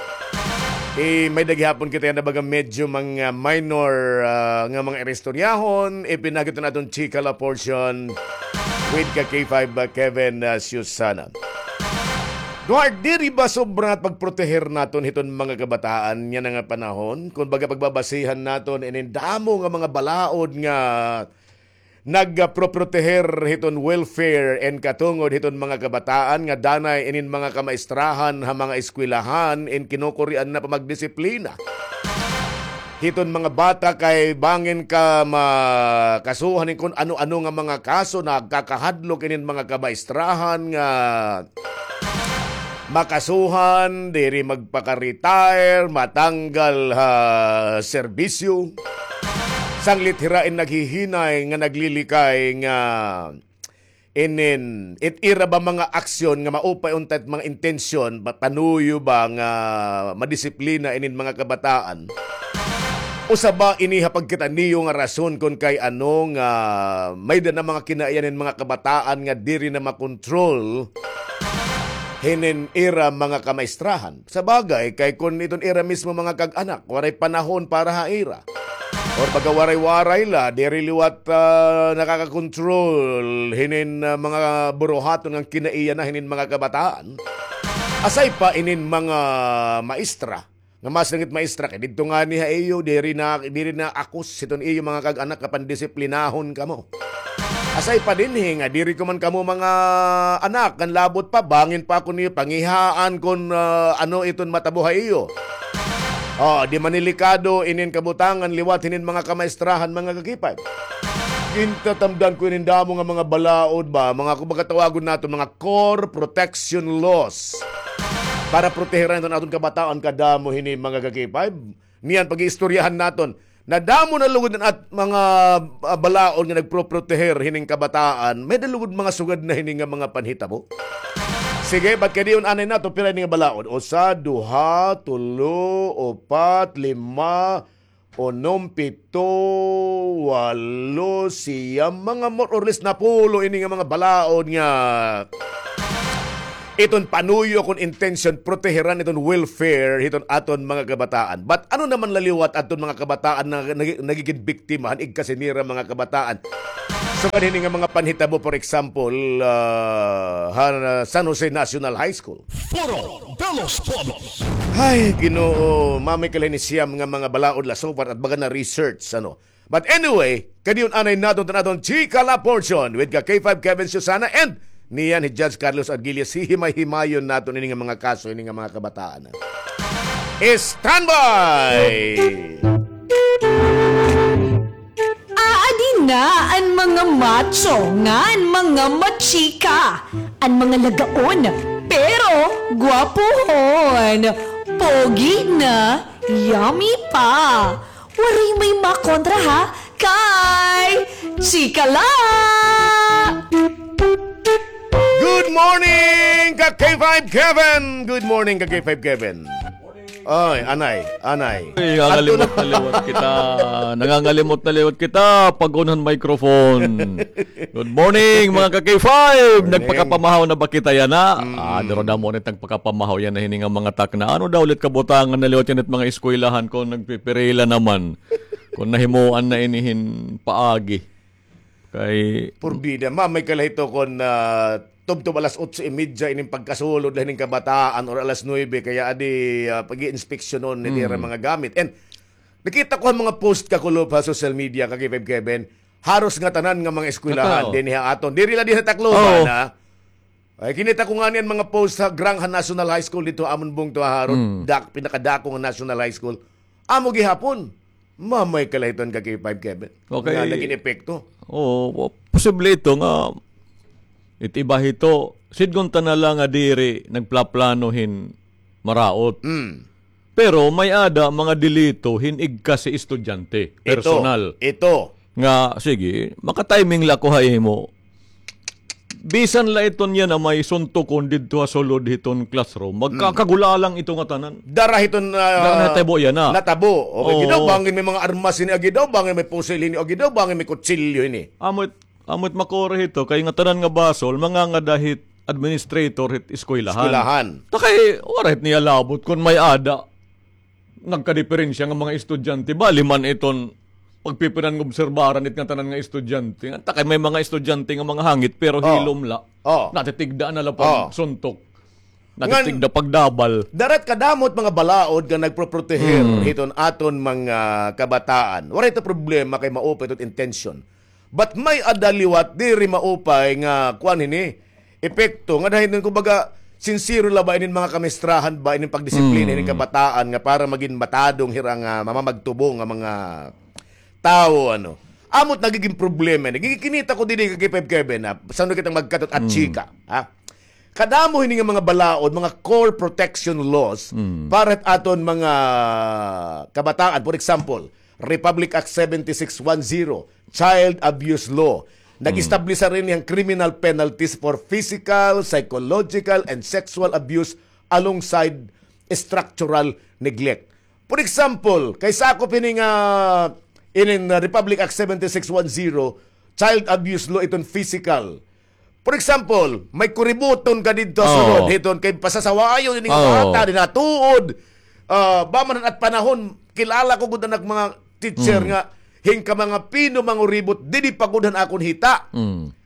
Eh, may-ada gihapon kita yana baga medyo mga minor, ah, nga mga iristoryahon. Ipinaagi hiton aton chika la portion with ka K five, ah, Kevin, ah, Susana. Duhart, diri ba sobra nga pagproteher naton hiton mga kabataan yana nga panahon? Kon baga pagbabasihan naton inin damo nga mga balaod nga nagproproteher hiton welfare and katungod hiton mga kabataan nga danay inin mga kamaistrahan ha mga eskwelahan in kinukurian na pa magdisiplina hiton mga bata kay bangin ka makasuhan hin kon ano-ano nga mga kaso, nagkakahadlok inin mga kamaistrahan nga makasuhan, diri magpaka-retire, matanggal ha serbisyo. Sanglit hira in naghihinay nga naglilikay nga inin, it ira ba mga aksyon nga maupay unta it mga intensyon, ba, panuyo ba nga madisiplina inin mga kabataan? Usa ba ini ha pagkita niyo nga rason kon kay ano nga may-ada na mga kinaiya inin mga kabataan nga diri na makontrol hinin ira mga kamaistrahan? Sa bagay, kay kon iton ira mismo mga kag-anak, waray panahon para ha ira. Or baga waray-waray la, diri liwat, ah, nakakakontrol hinin, ah, mga buruhaton nga kinaiya na hinin mga kabataan. Asay pa inin mga maestra, nga mas langit maestra, kay didto ngani ha iyo, diri na, diri na akos hiton iyo mga kag-anak nga pandisiplinahon kamo. Asay pa dinhi nga diri ko man kamo mga anak, ngan labot pa, bangin pa ako niyo pangihaan kon, ah, ano iton matabo ha iyo. Oh, di manilikado inin kabutangan liwat hinin mga kamaistrahan, mga ka-K five. Kintatamdan ko inin damo nga mga balaod ba, mga, kumbaga, tawagon naton mga core protection laws para protehiran iton aton kabataan kadamo hini, mga ka-K five. Niyan pag-iistoryahan naton. Nadamo na lugod an at mga, ah, balaod nga nagproproteher hining kabataan, may-ada lugod mga sugad na hini nga mga panhitabo. Sige, bat kay diyon anay naton, pira ini nga balaod? Usa, duha, tulo, upat, lima, unom, pito, walo, siyam, mga more or less napulo ini nga mga balaod nga iton panuyo kon intensyon, proteheran iton welfare hiton aton mga kabataan. But ano naman la liwat aton mga kabataan na nagi-, nagigin biktima han igkasi nira mga kabataan? Sugad hini nga mga panhitabo, for example, ah, han, ah, San Jose National High School. Foro de los Pueblos. Ay, Ginoo, mamay kay la hini siyam nga mga balaod la so far at baga na research, ano. But anyway, kay diyon anay naton an aton Chika La portion with ka K five Kevin, Susana, and niyan hi Judge Carlos Aguiles. Hihimay-himayon naton ini nga mga kaso, ini nga mga kabataan. Standby! Aadi na an mga macho ngan mga machika, an mga lagaon, pero gwapohon, pogi na, yummy pa. Waray may makontra ha kay Chika La! Good morning, ka K five Kevin! Good morning, ka K five Kevin! Ay, anay, anay. Ay, nangangalimot na liwat kita. Nangangalimot na liwat kita pag-on han microphone. Good morning, mga ka K five. Morning. Nagpakapamahaw na ba kita yana? Mm. Ah, duro damo nit nagpakapamahaw yana hini nga mga takna. Ano daw ulit kabutangan na liwat yana it mga eskwelahan kon nagpipirila naman? Kon nahimuan na ini hin paagi. Kay porbida, mamay kay la hito kon, ah, tubtob alas otso y media ining pagkasulod la hining kabataan or alas nuebe, kay adi, ah, pag-iinspeksyonon nira mga gamit. And nakita ko an mga post kakulop ha social media, ka K five Kevin, haros ngatanan nga mga eskwelahan dinhi ha aton. Diri la dinhi ha Tacloban, ha? Ay, kinita ko ngani an mga post ha Grang ha National High School didto ha amon bungto ha Harod. Mm. Dak-, pinakadako nga National High School. Amo gihapon. Mamay kay la hiton, ka K five Kevin. Okay. Nga nagin epekto. Oo, posible ito nga it iba hito, sidngon ta na la nga diri nagplaplano hin maraot. Mm. Pero may-ada mga delito hin igkasi estudyante, personal. Ito. Nga, sige, maka-timing la ako ha imo. Bisan la iton yana may suntokon didto ha sulod hiton classroom, magkakagulalang ito ngatanan. Dara hiton, ah, dara natabo yana. Natabo. Okay, oo. Agi daw bangin may mga armas hini, agi daw bangin may pusil hini, agi daw bangin may kutsilyo hini. Amo it, amo it makuri hito, kay ngatanan nga basol, mangangada hit administrator hit eskwelahan. Eskwelahan. Ta kay, waray hit niya labot kon may-ada nagkadiperensya nga mga estudyante, bali man iton pagpipinan nga obserbaran it ngatanan nga estudyante. Ta kay may mga estudyante nga mga hangit, pero hilom la. Oh. Natitigda na la pagsuntok. Natitigda pagdabal. Dara it kadamo it mga balaod nga nagproproteher hiton aton mga kabataan. Waray ito problema kay maupay ito it intensyon. But may-ada liwat diri maupay nga kuan hini, epekto, nga dahil nun, kumbaga, sinsero la ba inin mga kamistrahan ba, inin pagdisiplina, inin kabataan nga para magin matadong hira nga mamamagtubo nga mga tawo, ano. Amo it nagigin problema ini. Gikinita ko didi, ka K five Kevin, ha? Sando kitang magkatot at chika, ha? Kadamo hini nga mga balaod, mga core protection laws para aton mga kabataan. For example, Republic Act seventy-six one zero, Child Abuse Law. Nag-establish rin yang criminal penalties for physical, psychological, and sexual abuse alongside structural neglect. For example, kay sakop hini nga inin, uh, Republic Act seventy-six one zero, child abuse law, iton physical. For example, may kuributon ka didto ha sulod, hiton kay pasasawayon ini nga bata, dinatuod. Ah, ba man at panahon, kilala ko gud an mga teacher nga, hingka mga pino manguribot, didi pa gud han akon hita.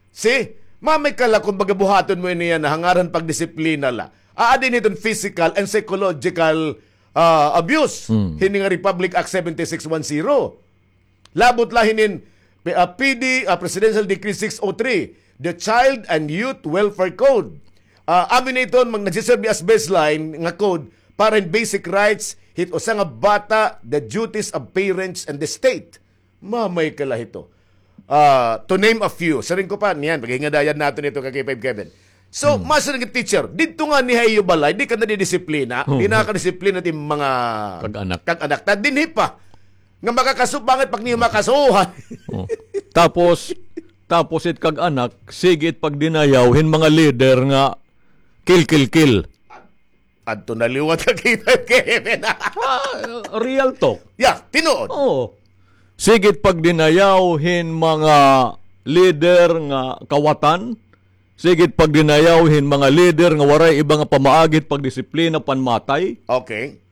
Si, mamay ka la kon baga buhaton mo ini yana, ha ngaran pagdisiplina la. Aadi hiton physical and psychological, ah, abuse. Hini nga Republic Act seventy-six one zero. Labot la hinin, ah, P D, ah, Presidential Decree six oh three, the Child and Youth Welfare Code. Ah, amo ini iton mag-, nagsiserbi as baseline nga code para hin basic rights hit usa nga bata, the duties of parents and the state. Mamay ka la hito. Ah, to name a few. Siring ko pa, niyan, paghingadayan naton ito kay K five Kevin. So, mm, masiring it teacher, didto ngani ha iyo balay, di ka nadidisiplina, di nakadisiplina it mga kag-anak. Kag-anak. Ta dinhi pa, nga makakaso, bakit pag niyo makasuhan? Oh. Tapos, tapos it kag-anak, sige it pagdinayaw hin mga leader nga kill, kill, kill. Adto na liwat ka, K five Kevin. Ah, real talk. Yeah, tinuod. Oo. Sige it pagdinayaw hin mga leader nga kawatan. Sige it pagdinayaw hin mga leader nga waray iba nga pamaagi it pagdisiplina, panmatay. Okay.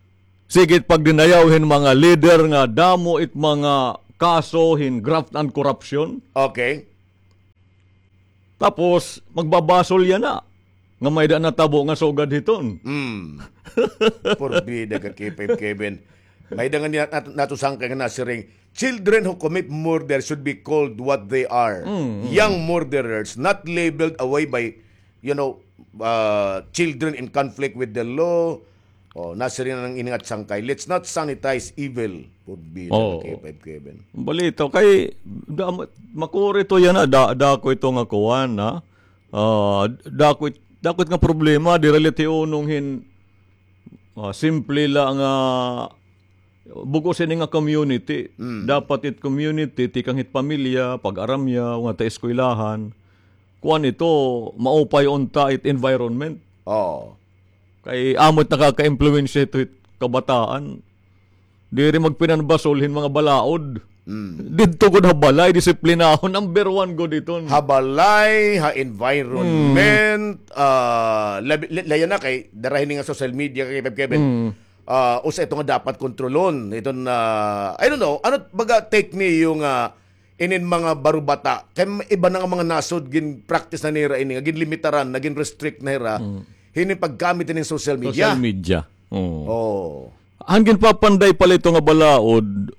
Sige it pagdinayaw hin mga leader nga damo it mga kaso hin graft and corruption. Okay. Tapos, magbabasol yana nga may-ada natabo nga sugad hiton. Mm. Porbida ka, K five Kevin. May-ada nga niya nat-, nato sangkay nga nasiring, "Children who commit murder should be called what they are. Mm, mm. Young murderers, not labeled away by, you know, uh, children in conflict with the law." Oh, nasiring na nga ini nga sangkay, "Let's not sanitize evil." Porbida ka, K five Kevin. Balita kay, da-, makuri ito yana, da-, dako ito nga kuan, ha? Ah, dako it-, dako it nga problema, diri la it hiunong hin, ah, simple la nga bug-os ini nga community. Mm. Dapat it community, tikang hit pamilya, pag-aramya, nga ta eskwelahan. Kuan ito, maupay unta it environment. Oo. Kay amo it nakaka-impluwensya hito hit kabataan. Diri magpinanbasol hin mga balaod. Mm. Didto gud ha balay, disiplinahon, number one gud iton. Ha balay, ha environment, ah, labi, la-, layo na kay dara hini nga social media kay Kevin. Mm. Ah, usa ito nga dapat kontrolon. Iton, ah, I don't know, ano baga take niyo nga inin mga barubata, kay iba na nga mga nasod, gin-practice na nira ini, nga ginlimitaran, na gin-restrict na hira, mm, hini paggamit hini social media. Social media. Oo. Oh. An ginpapanday pala ito nga balaod,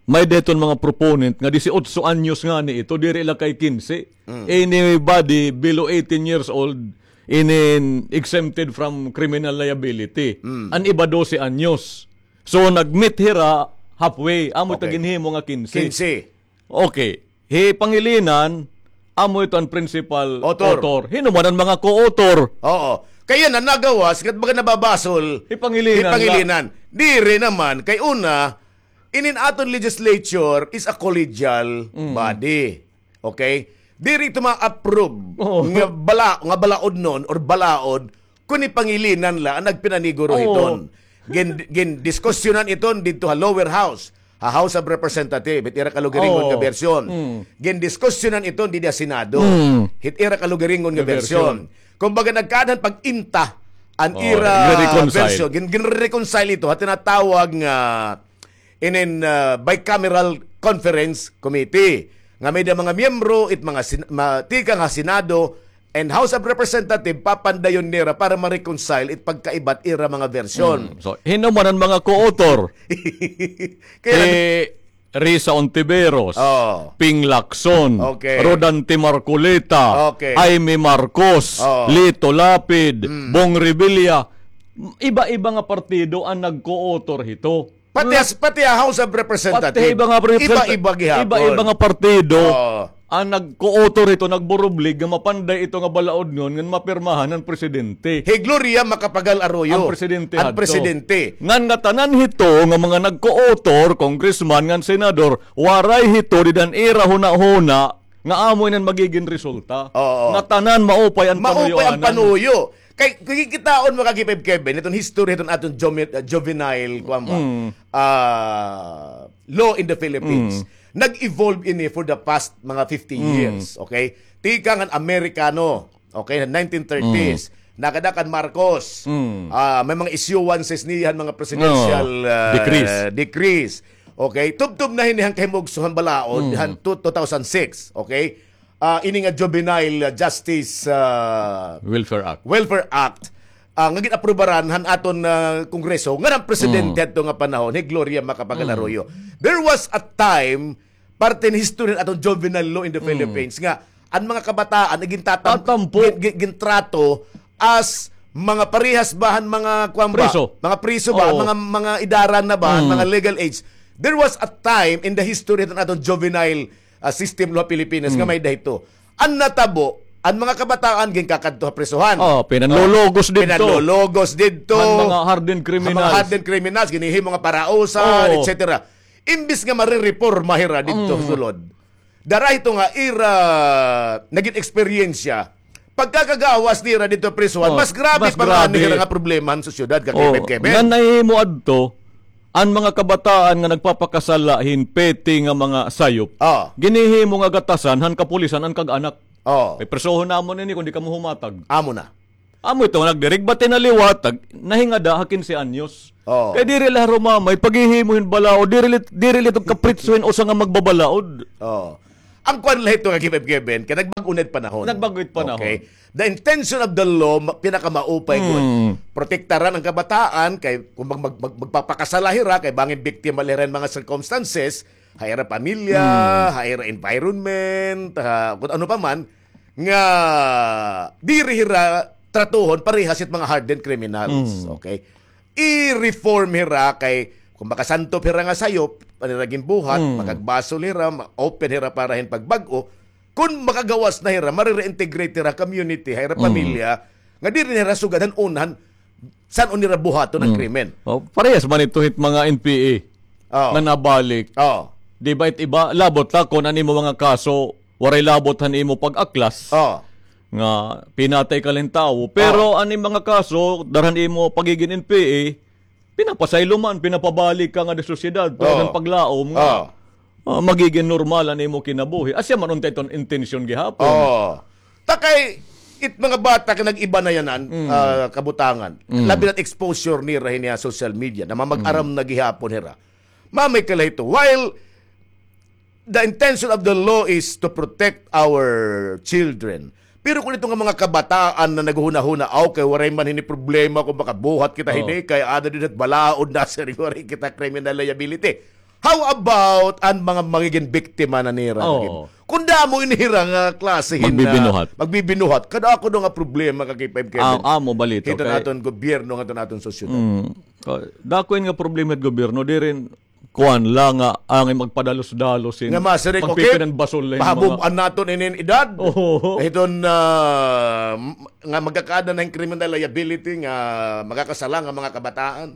may-ada hiton mga proponent nga disiotso anyos ngani ito, diri la kay kinse. Mm. Anybody below eighteen years old, inin exempted from criminal liability. Mm. An iba dose anyos. So, nag-meet hira halfway. Amo ito ginhimo nga kinse. Kinse. Okay. Hi Pangilinan, amo ito an principal author. Author. Hin-o man an mga co-author? Oo. Kay yana nagawas, kat baga nababasol. Hi Pangilinan. Hi Pangilinan. Diri naman, kay una, inin aton legislature is a collegial body. Okay? Diri ito ma-approve nga bala-, nga balaodnon or balaod kun hi Pangilinan la an nagpinaniguro hiton. Gin-, gindiskusyonan iton didto ha lower house, ha House of Representative, hit ira kalugaringon nga bersyon. Mm. Gindiskusyonan iton didi ha Senado, hit ira kalugaringon nga bersyon. Kumbaga, nagkaada han pag-inta an ira bersyon. Gin-, gin-reconcile ito ha tinatawag nga inin, ah, bicameral conference committee nga may-ada mga miyembro, it mga sin-, ma-, tikang ha Senado and House of Representative, papandayon nira para ma-reconcile it pagkaiba it ira mga bersyon. Mm. So, hin-o man an mga co-author? Kay Risa Ontiveros, Ping Lacson, Rodante Marcoleta, Imee Marcos, Lito Lapid, Bong Revilla, iba-iba nga partido an nag-co-author hito. Pati ha, pati ha House of Representatives, iba-iba gihapon. Iba-iba nga partido an nag-co-author hito, nagburublig nga mapanday ito nga balaod ngan mapirmahan han presidente. Hi Gloria Macapagal Arroyo an presidente hadto. Ngan ngatanan hito nga mga nag-co-author, congressman ngan senador, waray hito dida han ira hunahuna nga amo ini an magigin resulta. Oo. Ngatanan maupay an panuyo. Kay, kay kitaon mo, Kagipib Kevin, iton history hiton aton jumi-, uh, juvenile, kuwan ba? Ah, law in the Philippines. Nag-evolve ini for the past mga fifty years, okay? Tikang han Amerikano, okay, han nineteen thirties, nakada kan Marcos. Ah, may mga issuances niya han mga presidential, ah, decrees. Okay, tubtob na hini han kahimugso han balaod, han two, two thousand six, okay? Ah, ini nga Juvenile, ah, Justice, ah, Welfare Act. Welfare Act, ah, nga gin-aprubaran han aton, ah, Kongreso, ngan han presidente hadto nga panahon, hi Gloria Macapagal Arroyo. There was a time, parte ni history han aton juvenile law in the Philippines, nga an mga kabataan ay gintatam-, gin-, gin-, gintrato as mga parehas ba han mga, kuwan ba? Preso. Mga preso ba? Oo. Mga, mga idaran na ba? Han mga legal age. There was a time in the history han aton juvenile ah, system law ha Pilipinas nga may-ada hito. An natabo, an mga kabataan ginkakadto ha prisohan. Oh, pinanlologos didto. Pinanlologos didto. Han mga hardened criminals. Han mga hardened criminals, ginhihimo nga parausan, et cetera. Imbis nga marireporma hira didto sulod, dara hito nga ira nagin eksperyensya, pagkakagawas nira didto prisohan, mas grabe pa nga an hira nga problema han sosyedad, ka Kevin. Nga nahimo adto, an mga kabataan nga nagpapakasala hin pete nga mga sayop, ginhihimo nga gatasan han kapulisan an kag-anak. Kay prisohon namon ini kon di kamo humatag. Amo na. Amo ito, nagdirigba tinaliwat, nahingada ha kinse anyos. Kay diri la harumamay paghihimo hin balaod, diri la, diri la ito kapritso hin usa nga magbabalaod. An kuan la ito nga Kevin, kay nagbag-o na it panahon. Nagbag-o it panahon. Okay. The intention of the law, ma-, pinakamaupay gud. Protektaran an kabataan kay kung mag-, mag-, mag-, magpapakasala hira, kay bangin biktima la hira hin mga circumstances, ha ira pamilya, ha ira environment, ha, kung ano pa man, nga diri hira tratuhon parehas it mga hardened criminals. Okay? I-reform hira kay kung makasantop hira nga sayop, an ira ginbuhat, makagbasol hira, ma-, open hira para hin pagbag-o, kun makagawas na hira, mare-reintegrate hira community, ha ira pamilya, nga diri na hira sugad han una han san-o nira buhaton an krimen. Oh, parehas man ito hit mga N P A nga nabalik. Di ba it iba, labot la kon an imo mga kaso, waray labot han imo pag-aklas. Nga pinatay ka la hin tawo. Pero an imo mga kaso, dara han imo pagigin N P A, pinapasaylo man, pinapabalik ka ngada ha sosyedad, tungod han paglaom nga, ah, magigin normal an imo kinabuhi. Asya man unta iton intensyon gihapon. Ta kay, it mga bata kay nag-iba na yanan, ah, kabutangan. Labi na't exposure nira hini ha social media, namamag-aram na gihapon hira. Mamay ka la hito. While the intention of the law is to protect our children, pero kun ito nga mga kabataan na naghuhunahuna, "Aw, kay waray man hini problema kon makabuhat kita hini, kay ada dida hit balaod na, siring, waray kita criminal liability." How about an mga magigin biktima na nira? Kun damo ini hira nga klase hin, ah, magbibinuhat. Magbibinuhat. Kadako daw nga problema, ka K five Kevin. Amo balita. Hito naton gobyerno, ngadto naton sosyedad. Dako ini nga problema hit gobyerno, diri kuan la nga angay magpadalos-dalos hin nga masiring, okay, pagpipinanbasol hin mga pahabub-an naton inin edad. Hiton, ah, m-, nga magkakaada na hin criminal liability nga makakasala nga mga kabataan.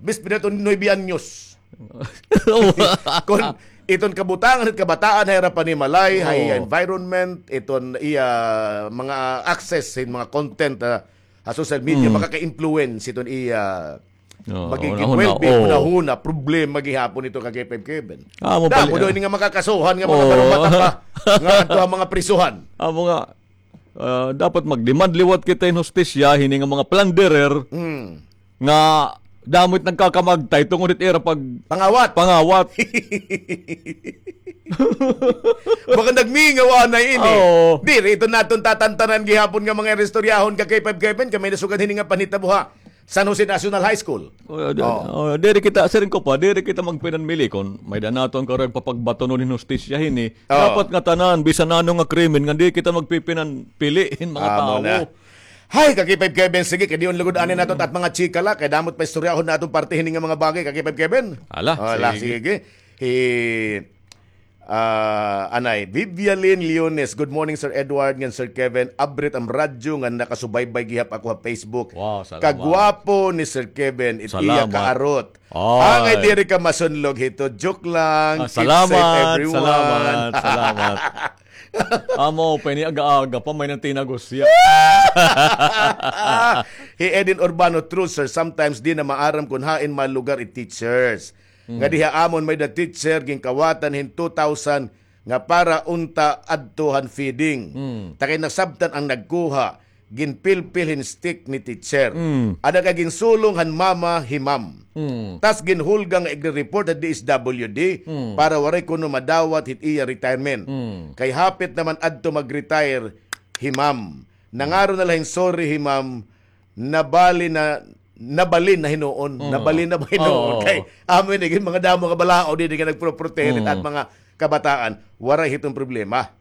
Bis pinaton nuebe anyos. Kon iton kabutangan hit kabataan ha ira panimalay, ha iya environment, iton iya mga access hin mga content, ah, ha social media, makaka-influence iton iya magiging well-being, hunahuna, problema gihapon ito, ka K five Kevin. Damo daw ini nga makakasuhan nga mga barong mata pa nga adto ha mga prisuhan. Amo nga, ah, dapat mag-demand liwat kita hin hustisya hini nga mga plunderer nga damo it nagkakamagtay tungod hit ira pag-, pangawat. Pangawat. Baka nagmingaw anay ini. Diri ito naton tatantanan gihapon nga mga iristoryahon, ka K five Kevin, kay may nasugad hini nga panhitabo ha San Jose National High School. Diri kita, siring ko pa, diri kita magpinanmili kon may-ada naton karuyag papagbatonon hin hustisya hini. Dapat ngatanan, bisan ano nga krimen, nga diri kita magpipinanpili hin mga tawo. Hay, ka K five Kevin, sige, kay dion lugod anay naton it mga chika la, kay damo it paistoryahon naton parte hini nga mga bagay, ka K five Kevin. Ala, sige. Hi, ah, anay, Vivialin Leones, "Good morning, Sir Edward, ngan Sir Kevin. Abrit an radyo ngan nakasubaybay gihap ako ha Facebook. Wow, salamat. Kagwapo ni Sir Kevin, it iya kaarot. Angay diri ka masunlog hito. Joke lang. Keep safe, everyone." Salamat, salamat. Amo pa ini, aga-aga pa, may-ada na tinagos hiya. Hi Edin Urbano, "True, sir. Sometimes di na maaram kon hain malugar it teachers. Nga diha amon may-ada teacher ginkawatan hin two thousand nga para unta adto han feeding. Ta kay nasabtan an nagkuha, ginpilpil hin stick ni teacher. Ada kay ginsulong han mama hi ma'am. Tas ginhulga nga igre-report ha D S W D para waray kuno madawat hit iya retirement. Kay hapit naman adto mag-retire hi ma'am. Nangaron na la hin sorry hi ma'am, nabali na, nabalin na hinuon. Nabalin na ba hinuon? Kay amo ini, mga damo nga balaod ini nga nagproprotehe hit mga kabataan. Waray hiton problema.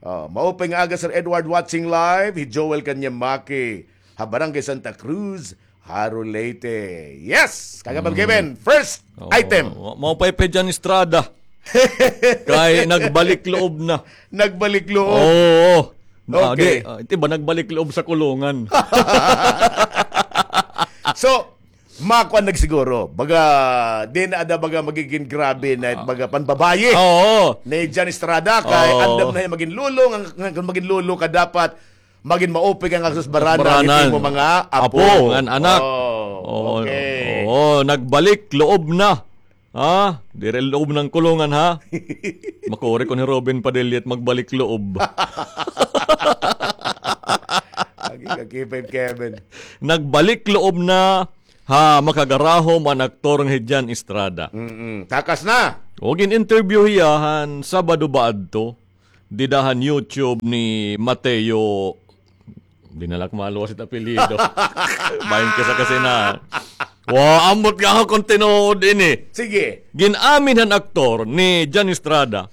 Oh, maupay nga aga, Sir Edward, watching live. Hi Joel Kanyamaki, ha Barangay Santa Cruz, Jaro, Leyte. Yes! Kagabang Kevin, first item. Maupay pa Jan Estrada. Kay nagbalik loob na. Nagbalik loob. Oo. Ah, okay. Di, ah, di ba nagbalik loob sa kulungan? So, makuan nagsiguro. Baga, di na ada baga magigin grabe na baga panbabayi. Oo. Ni John Estrada, kay andam na hiya magin lolo, nga, nga kon magin lolo ka dapat magin maupay ka nga sus barana, barana hit imo mga apo. Apo, ngan anak. Oh, okay. Oo, nagbalik loob na. Ha? Diri loob ng kulungan, ha? Makuri kon hi Robin Padilla it magbalik loob. Agi ka, K five Kevin. Nagbalik loob na ha Makagarahom an aktor nga hi John Estrada. Mm-mm. Takas na. O, gin-interview hiya han Sabado ba adto. Dida han YouTube ni Mateo. Di na la ak maluwas it apelyido. Bahin ka sa kasi na. Wa, ambot nga ako kon tinuod ini. Sige. Gin-amin han aktor ni John Estrada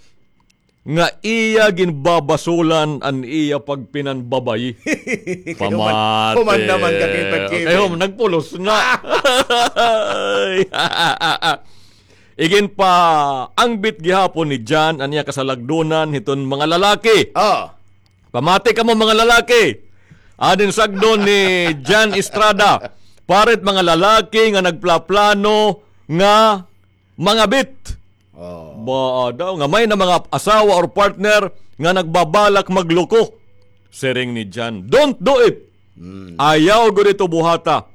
nga iya ginbabasolan an iya pagpinanbabayi. Human, pamati. Human naman ka, K five Kevin. Kay hum-, nagpulos na. Iginpaangbit gihapon ni John an iya kasalagdonan hiton mga lalaki. Oh. Pamati kamo, mga lalaki. Adin sagdon ni John Estrada, para hit mga lalaki nga nagplaplano nga mangabit. Oh. Ba daw, nga may na mga asawa or partner nga nagbabalak magloko. Siring ni John, "Don't do it. Mm. Ayaw gud ito buhata.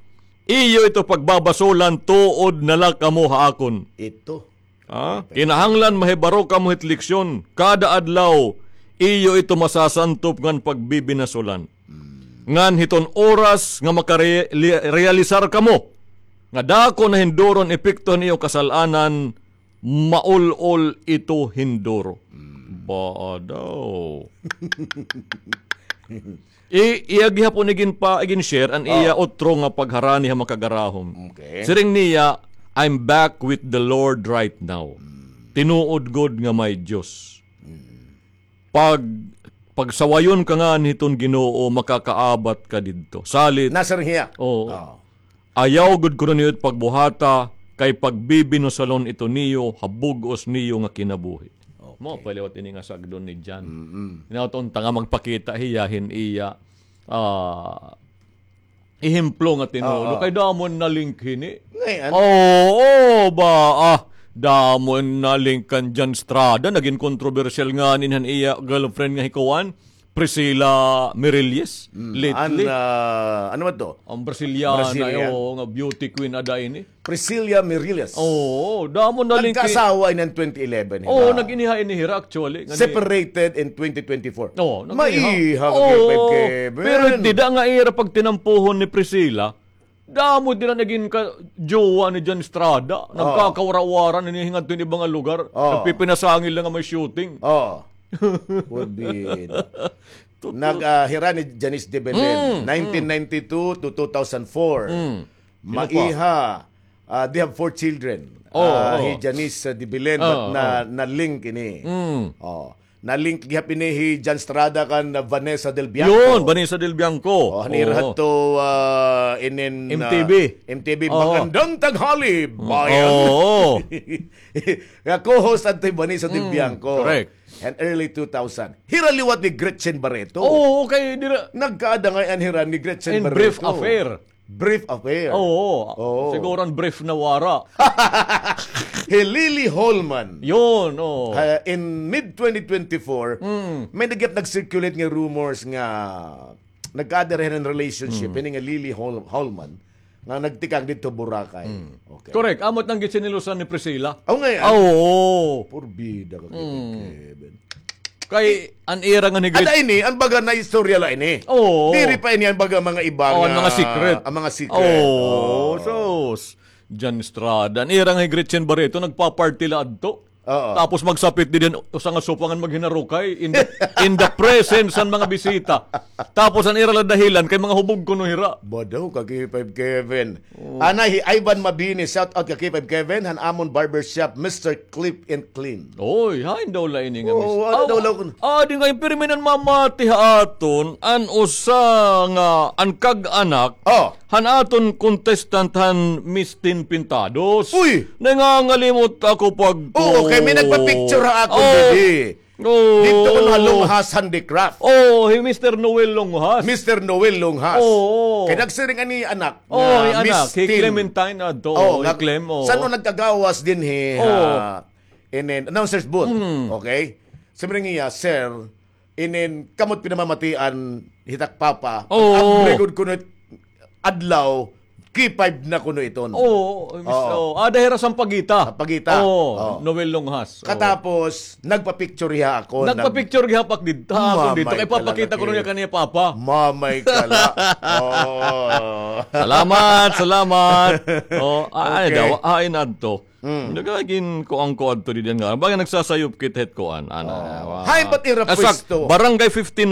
Iyo ito pagbabasolan, tuod na la kamo ha akon." Ito. Ha? Kinahanglan mahibaro kamo hit leksyon. Kada adlaw, iyo ito masasantop ngan pagbibinasolan. Mm. Ngan hiton oras nga makare-, li-, realisar kamo nga dako na hinduro an epekto han iyo kasal-anan, maul-ol ito hinduro. Mm. Ba daw. I, iya gihapon igin pa, igin share an iya otro nga pagharani ha Makagarahom. Okay. Siring niya, "I'm back with the Lord right now." Mm. Tinuod gud nga may Diyos. Mm. Pag, pagsawayon ka ngani hiton Ginoo, makakaabat ka didto. Salit. Nasir hiya. Oo. Oo. Ayaw gud kuno niyo it pagbuhata, kay pagbibinusalon ito niyo ha bug-os niyo nga kinabuhi. Okay. Mao pa liwat ini nga sagdon ni John. Mm-mm. Hinaot unta nga magpakita hiya hin iya, ah, ehemplo nga tinuod. Oo. Kay damo na-link hini. Ngay-an. Oo, ba, ah, damo na-link kan John Estrada. Nagin kontrobersyal ngani han iya girlfriend nga hi kuan. Priscilla Mirilles, mm, lately. An, ah, ano man to? An Braziliana, Brazilian. Oo, nga beauty queen ada ini. Priscilla Mirilles. Oo, damo na-link. Nagkaasawa ini han twenty eleven hira. Oo, nag-iniha ini hira actually. Separated in twenty twenty-four. Oo, nag-iniha. Maiha ka, Kevin. Pero dida nga ira pagtinampuhon ni Priscilla, damo dida nagin ka-jowa ni John Estrada. Oo. Nagkakawara-wara na ini hingadto hin iba nga lugar. Oo. Nagpipinasangil na nga may shooting. Oo. Forbid. Nag, ah, hira ni Janice de Belen, mm, nineteen ninety-two to two thousand four. Mm. Maiha, ah, they have four children. Oo, ah, oo. Hi Janice, ah, de Belen, but na, na-link ini. Mm. Oh. Na-link gihap ini hi John Estrada kan, ah, Vanessa Del Bianco. Yun, Vanessa Del Bianco. Oh, han ira hadto, ah, inin, ah, M T V. M T V, oo. Magandang tanghali, bayan. Oo. Nga co-host adto hi Vanessa Del Bianco. Mm, correct. Han early two thousand. Hira liwat ni Gretchen Barreto. Oo, kay dira. Nagkaada ngay-an hira ni Gretchen Barreto. In brief affair. Brief affair. Oo. Oo. Siguro an brief nawara. Hi Lily Holman. Yun, oo. Ah, in mid twenty twenty-four, mm, may nag-, nag-circulate nga rumors nga nagkaada hira hin relationship, mm, ini nga Lily Hol-, Holman, nga nagtikang didto Boracay. Mm. Okay. Correct. Amo it an ginsinilusan ni Priscilla. Aw, ngay-an. Ah, oo. Porbida ka, mm, Kevin. Kay an ira nga ni Gretchen. Ada ini, an baga nga istorya la ini. Oo. Diri pa ini an baga mga iba nga, an mga secret. Oo, oo. Sus. John Estrada. An ira nga hi Gretchen Barreto, nagpa-party la adto. Oo. Tapos magsapit didi hin usa nga sofa ngan maghinarukay in the, in the presence han mga bisita. Tapos an ira la dahilan kay mga hubog kuno hira. Ba daw ka, K five Kevin. Oo. Anay, hi Ivan Mabini, shout out ka K five Kevin, han amon barbershop, Mister Clip and Clean. Oy, hain daw la ini nga Mister? Oo, ano daw la kun- Ah, di nga, pirmi nan mamati ha aton, an usa nga, an kag-anak, oh, han aton contestant han Miss Teen Pintados. Uy! Nangangalimot ako pag Oo, kay may nagpa-picture ha akon didi. Oo. Didto kuno ha Lunghas Handicraft. Oh, hi Mister Noel Lunghas. Mister Noel Lunghas. Oo. Kay nagsiring ani anak nga hi anak, Miss hi Teen. Clementine adto, oo, hi Clem, oo. San-o nagkagawas dinhi ha inin announcer's booth. Mm. Okay? Siring niya, "Sir, inin kamo it pinamamatian hit ak papa. Oo. Every gud kuno it adlaw, K five na kuno iton." Oo, mis-, oo. Ada hira Sampaguita. Sampaguita. Oo, Noel Lunghas. Oo. Katapos, nagpa-picture hiya akon. Nagpa-picture hiya pak didto, ha akon didto. Kay papakita kuno niya kan iya papa. Mamay ka la. Oo. Salamat, salamat. Oh, ay, okay. Daw, hain adto. Mm. Nagagin ko an kuan to di diyan nga. Baga nagsasayop kit het kuan. Ana, oh. Hain ba't ira pwesto? Barangay fifteen